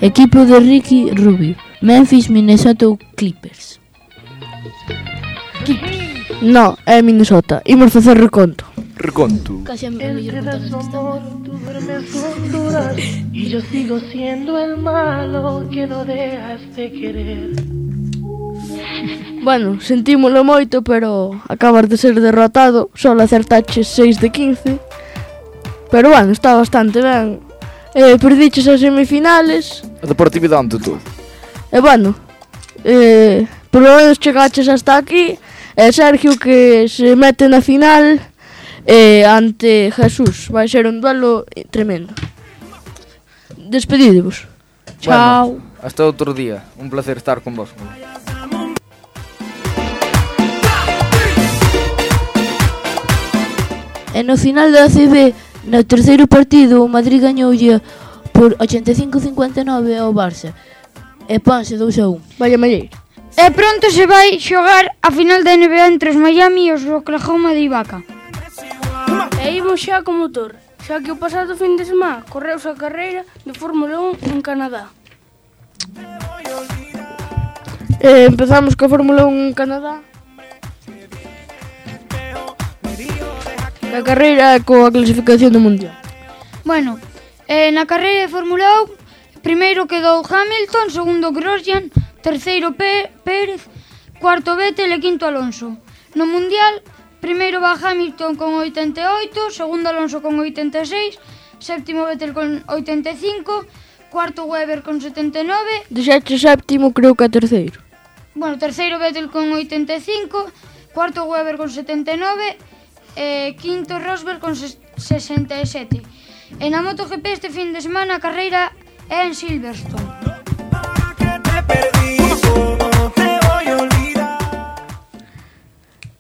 Equipo de Ricky Rubio, Memphis, Minnesota ou Clippers? No, é Minnesota. Imos facer reconto. Reconto. Casi a mellor Y yo sigo siendo el malo que no dejas de querer. Bueno, sentímolo moito, pero acabas de ser derrotado. Só acertaches 6 de 15. Pero bueno, está bastante ben. Perdiches as semifinales. A deportividade ante todo. E bueno, por lo menos chegaches hasta aquí. E Sergio que se mete na final ante Jesús. Vai ser un duelo tremendo. Despedidevos. Chao. Bueno, hasta outro día. Un placer estar con vos. E no final da ACB, no terceiro partido, o Madrid gañoulle por 85-59 ao Barça. E ponse 2-1. Vaya malleira. E pronto se vai xogar a final da NBA entre os Miami e os Oklahoma de Ibaka. E imos xa co motor, xa que o pasado fin de semana correuse a carreira de Fórmula 1 en Canadá. Empezamos coa Fórmula 1 en Canadá. Na carreira coa clasificación do Mundial. Bueno, na carreira de Fórmula 1, primeiro quedou Hamilton, segundo Grosjean, terceiro Pérez, cuarto Vettel e quinto Alonso. No Mundial, primeiro va Hamilton con 88, segundo Alonso con 86, séptimo Vettel con 85, cuarto Weber con 79. Dixache séptimo, creo que é terceiro. Bueno, terceiro Vettel con 85, cuarto Weber con 79, quinto Rosberg con 67. E na MotoGP este fin de semana a carreira é en Silverstone.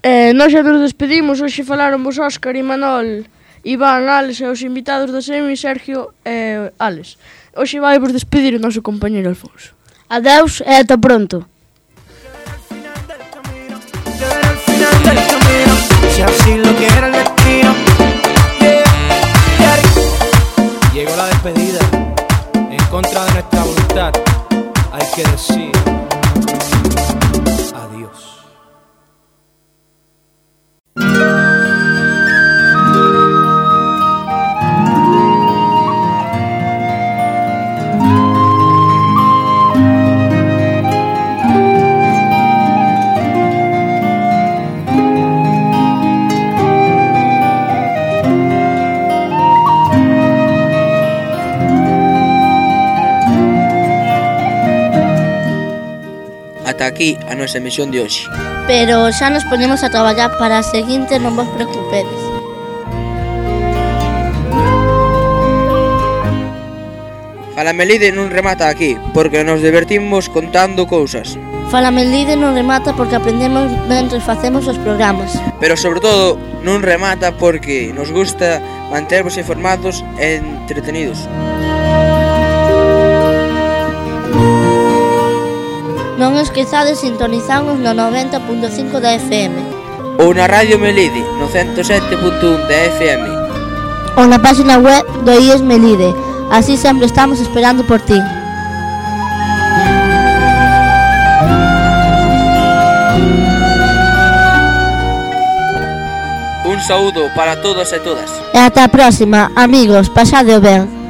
Nós xa nos despedimos, hoxe falaron vos Óscar, Imanol, Iván, Alex e os invitados da Semi, Sergio e Alex. Hoxe vai vos despedir o noso compañeiro Alfonso. Adeus e ata pronto. Si así lo quiere el destino. Llegó la despedida, en contra de nuestra voluntad. Hay que decir adiós. Ata aquí a nosa emisión de hoxe. Pero xa nos ponemos a traballar para a seguinte, non vos preocupedes. Fala Melide non remata aquí, porque nos divertimos contando cousas. Fala Melide non remata porque aprendemos mentre facemos os programas. Pero sobre todo non remata porque nos gusta mantervos informados e entretenidos. Non esquezades sintonizarnos no 90.5 da FM. Ou na Radio Melide, no 107.1 da FM. Ou na página web do IES Melide. Así sempre estamos esperando por ti. Un saúdo para todos e todas. E ata a próxima, amigos, pasadeo ben.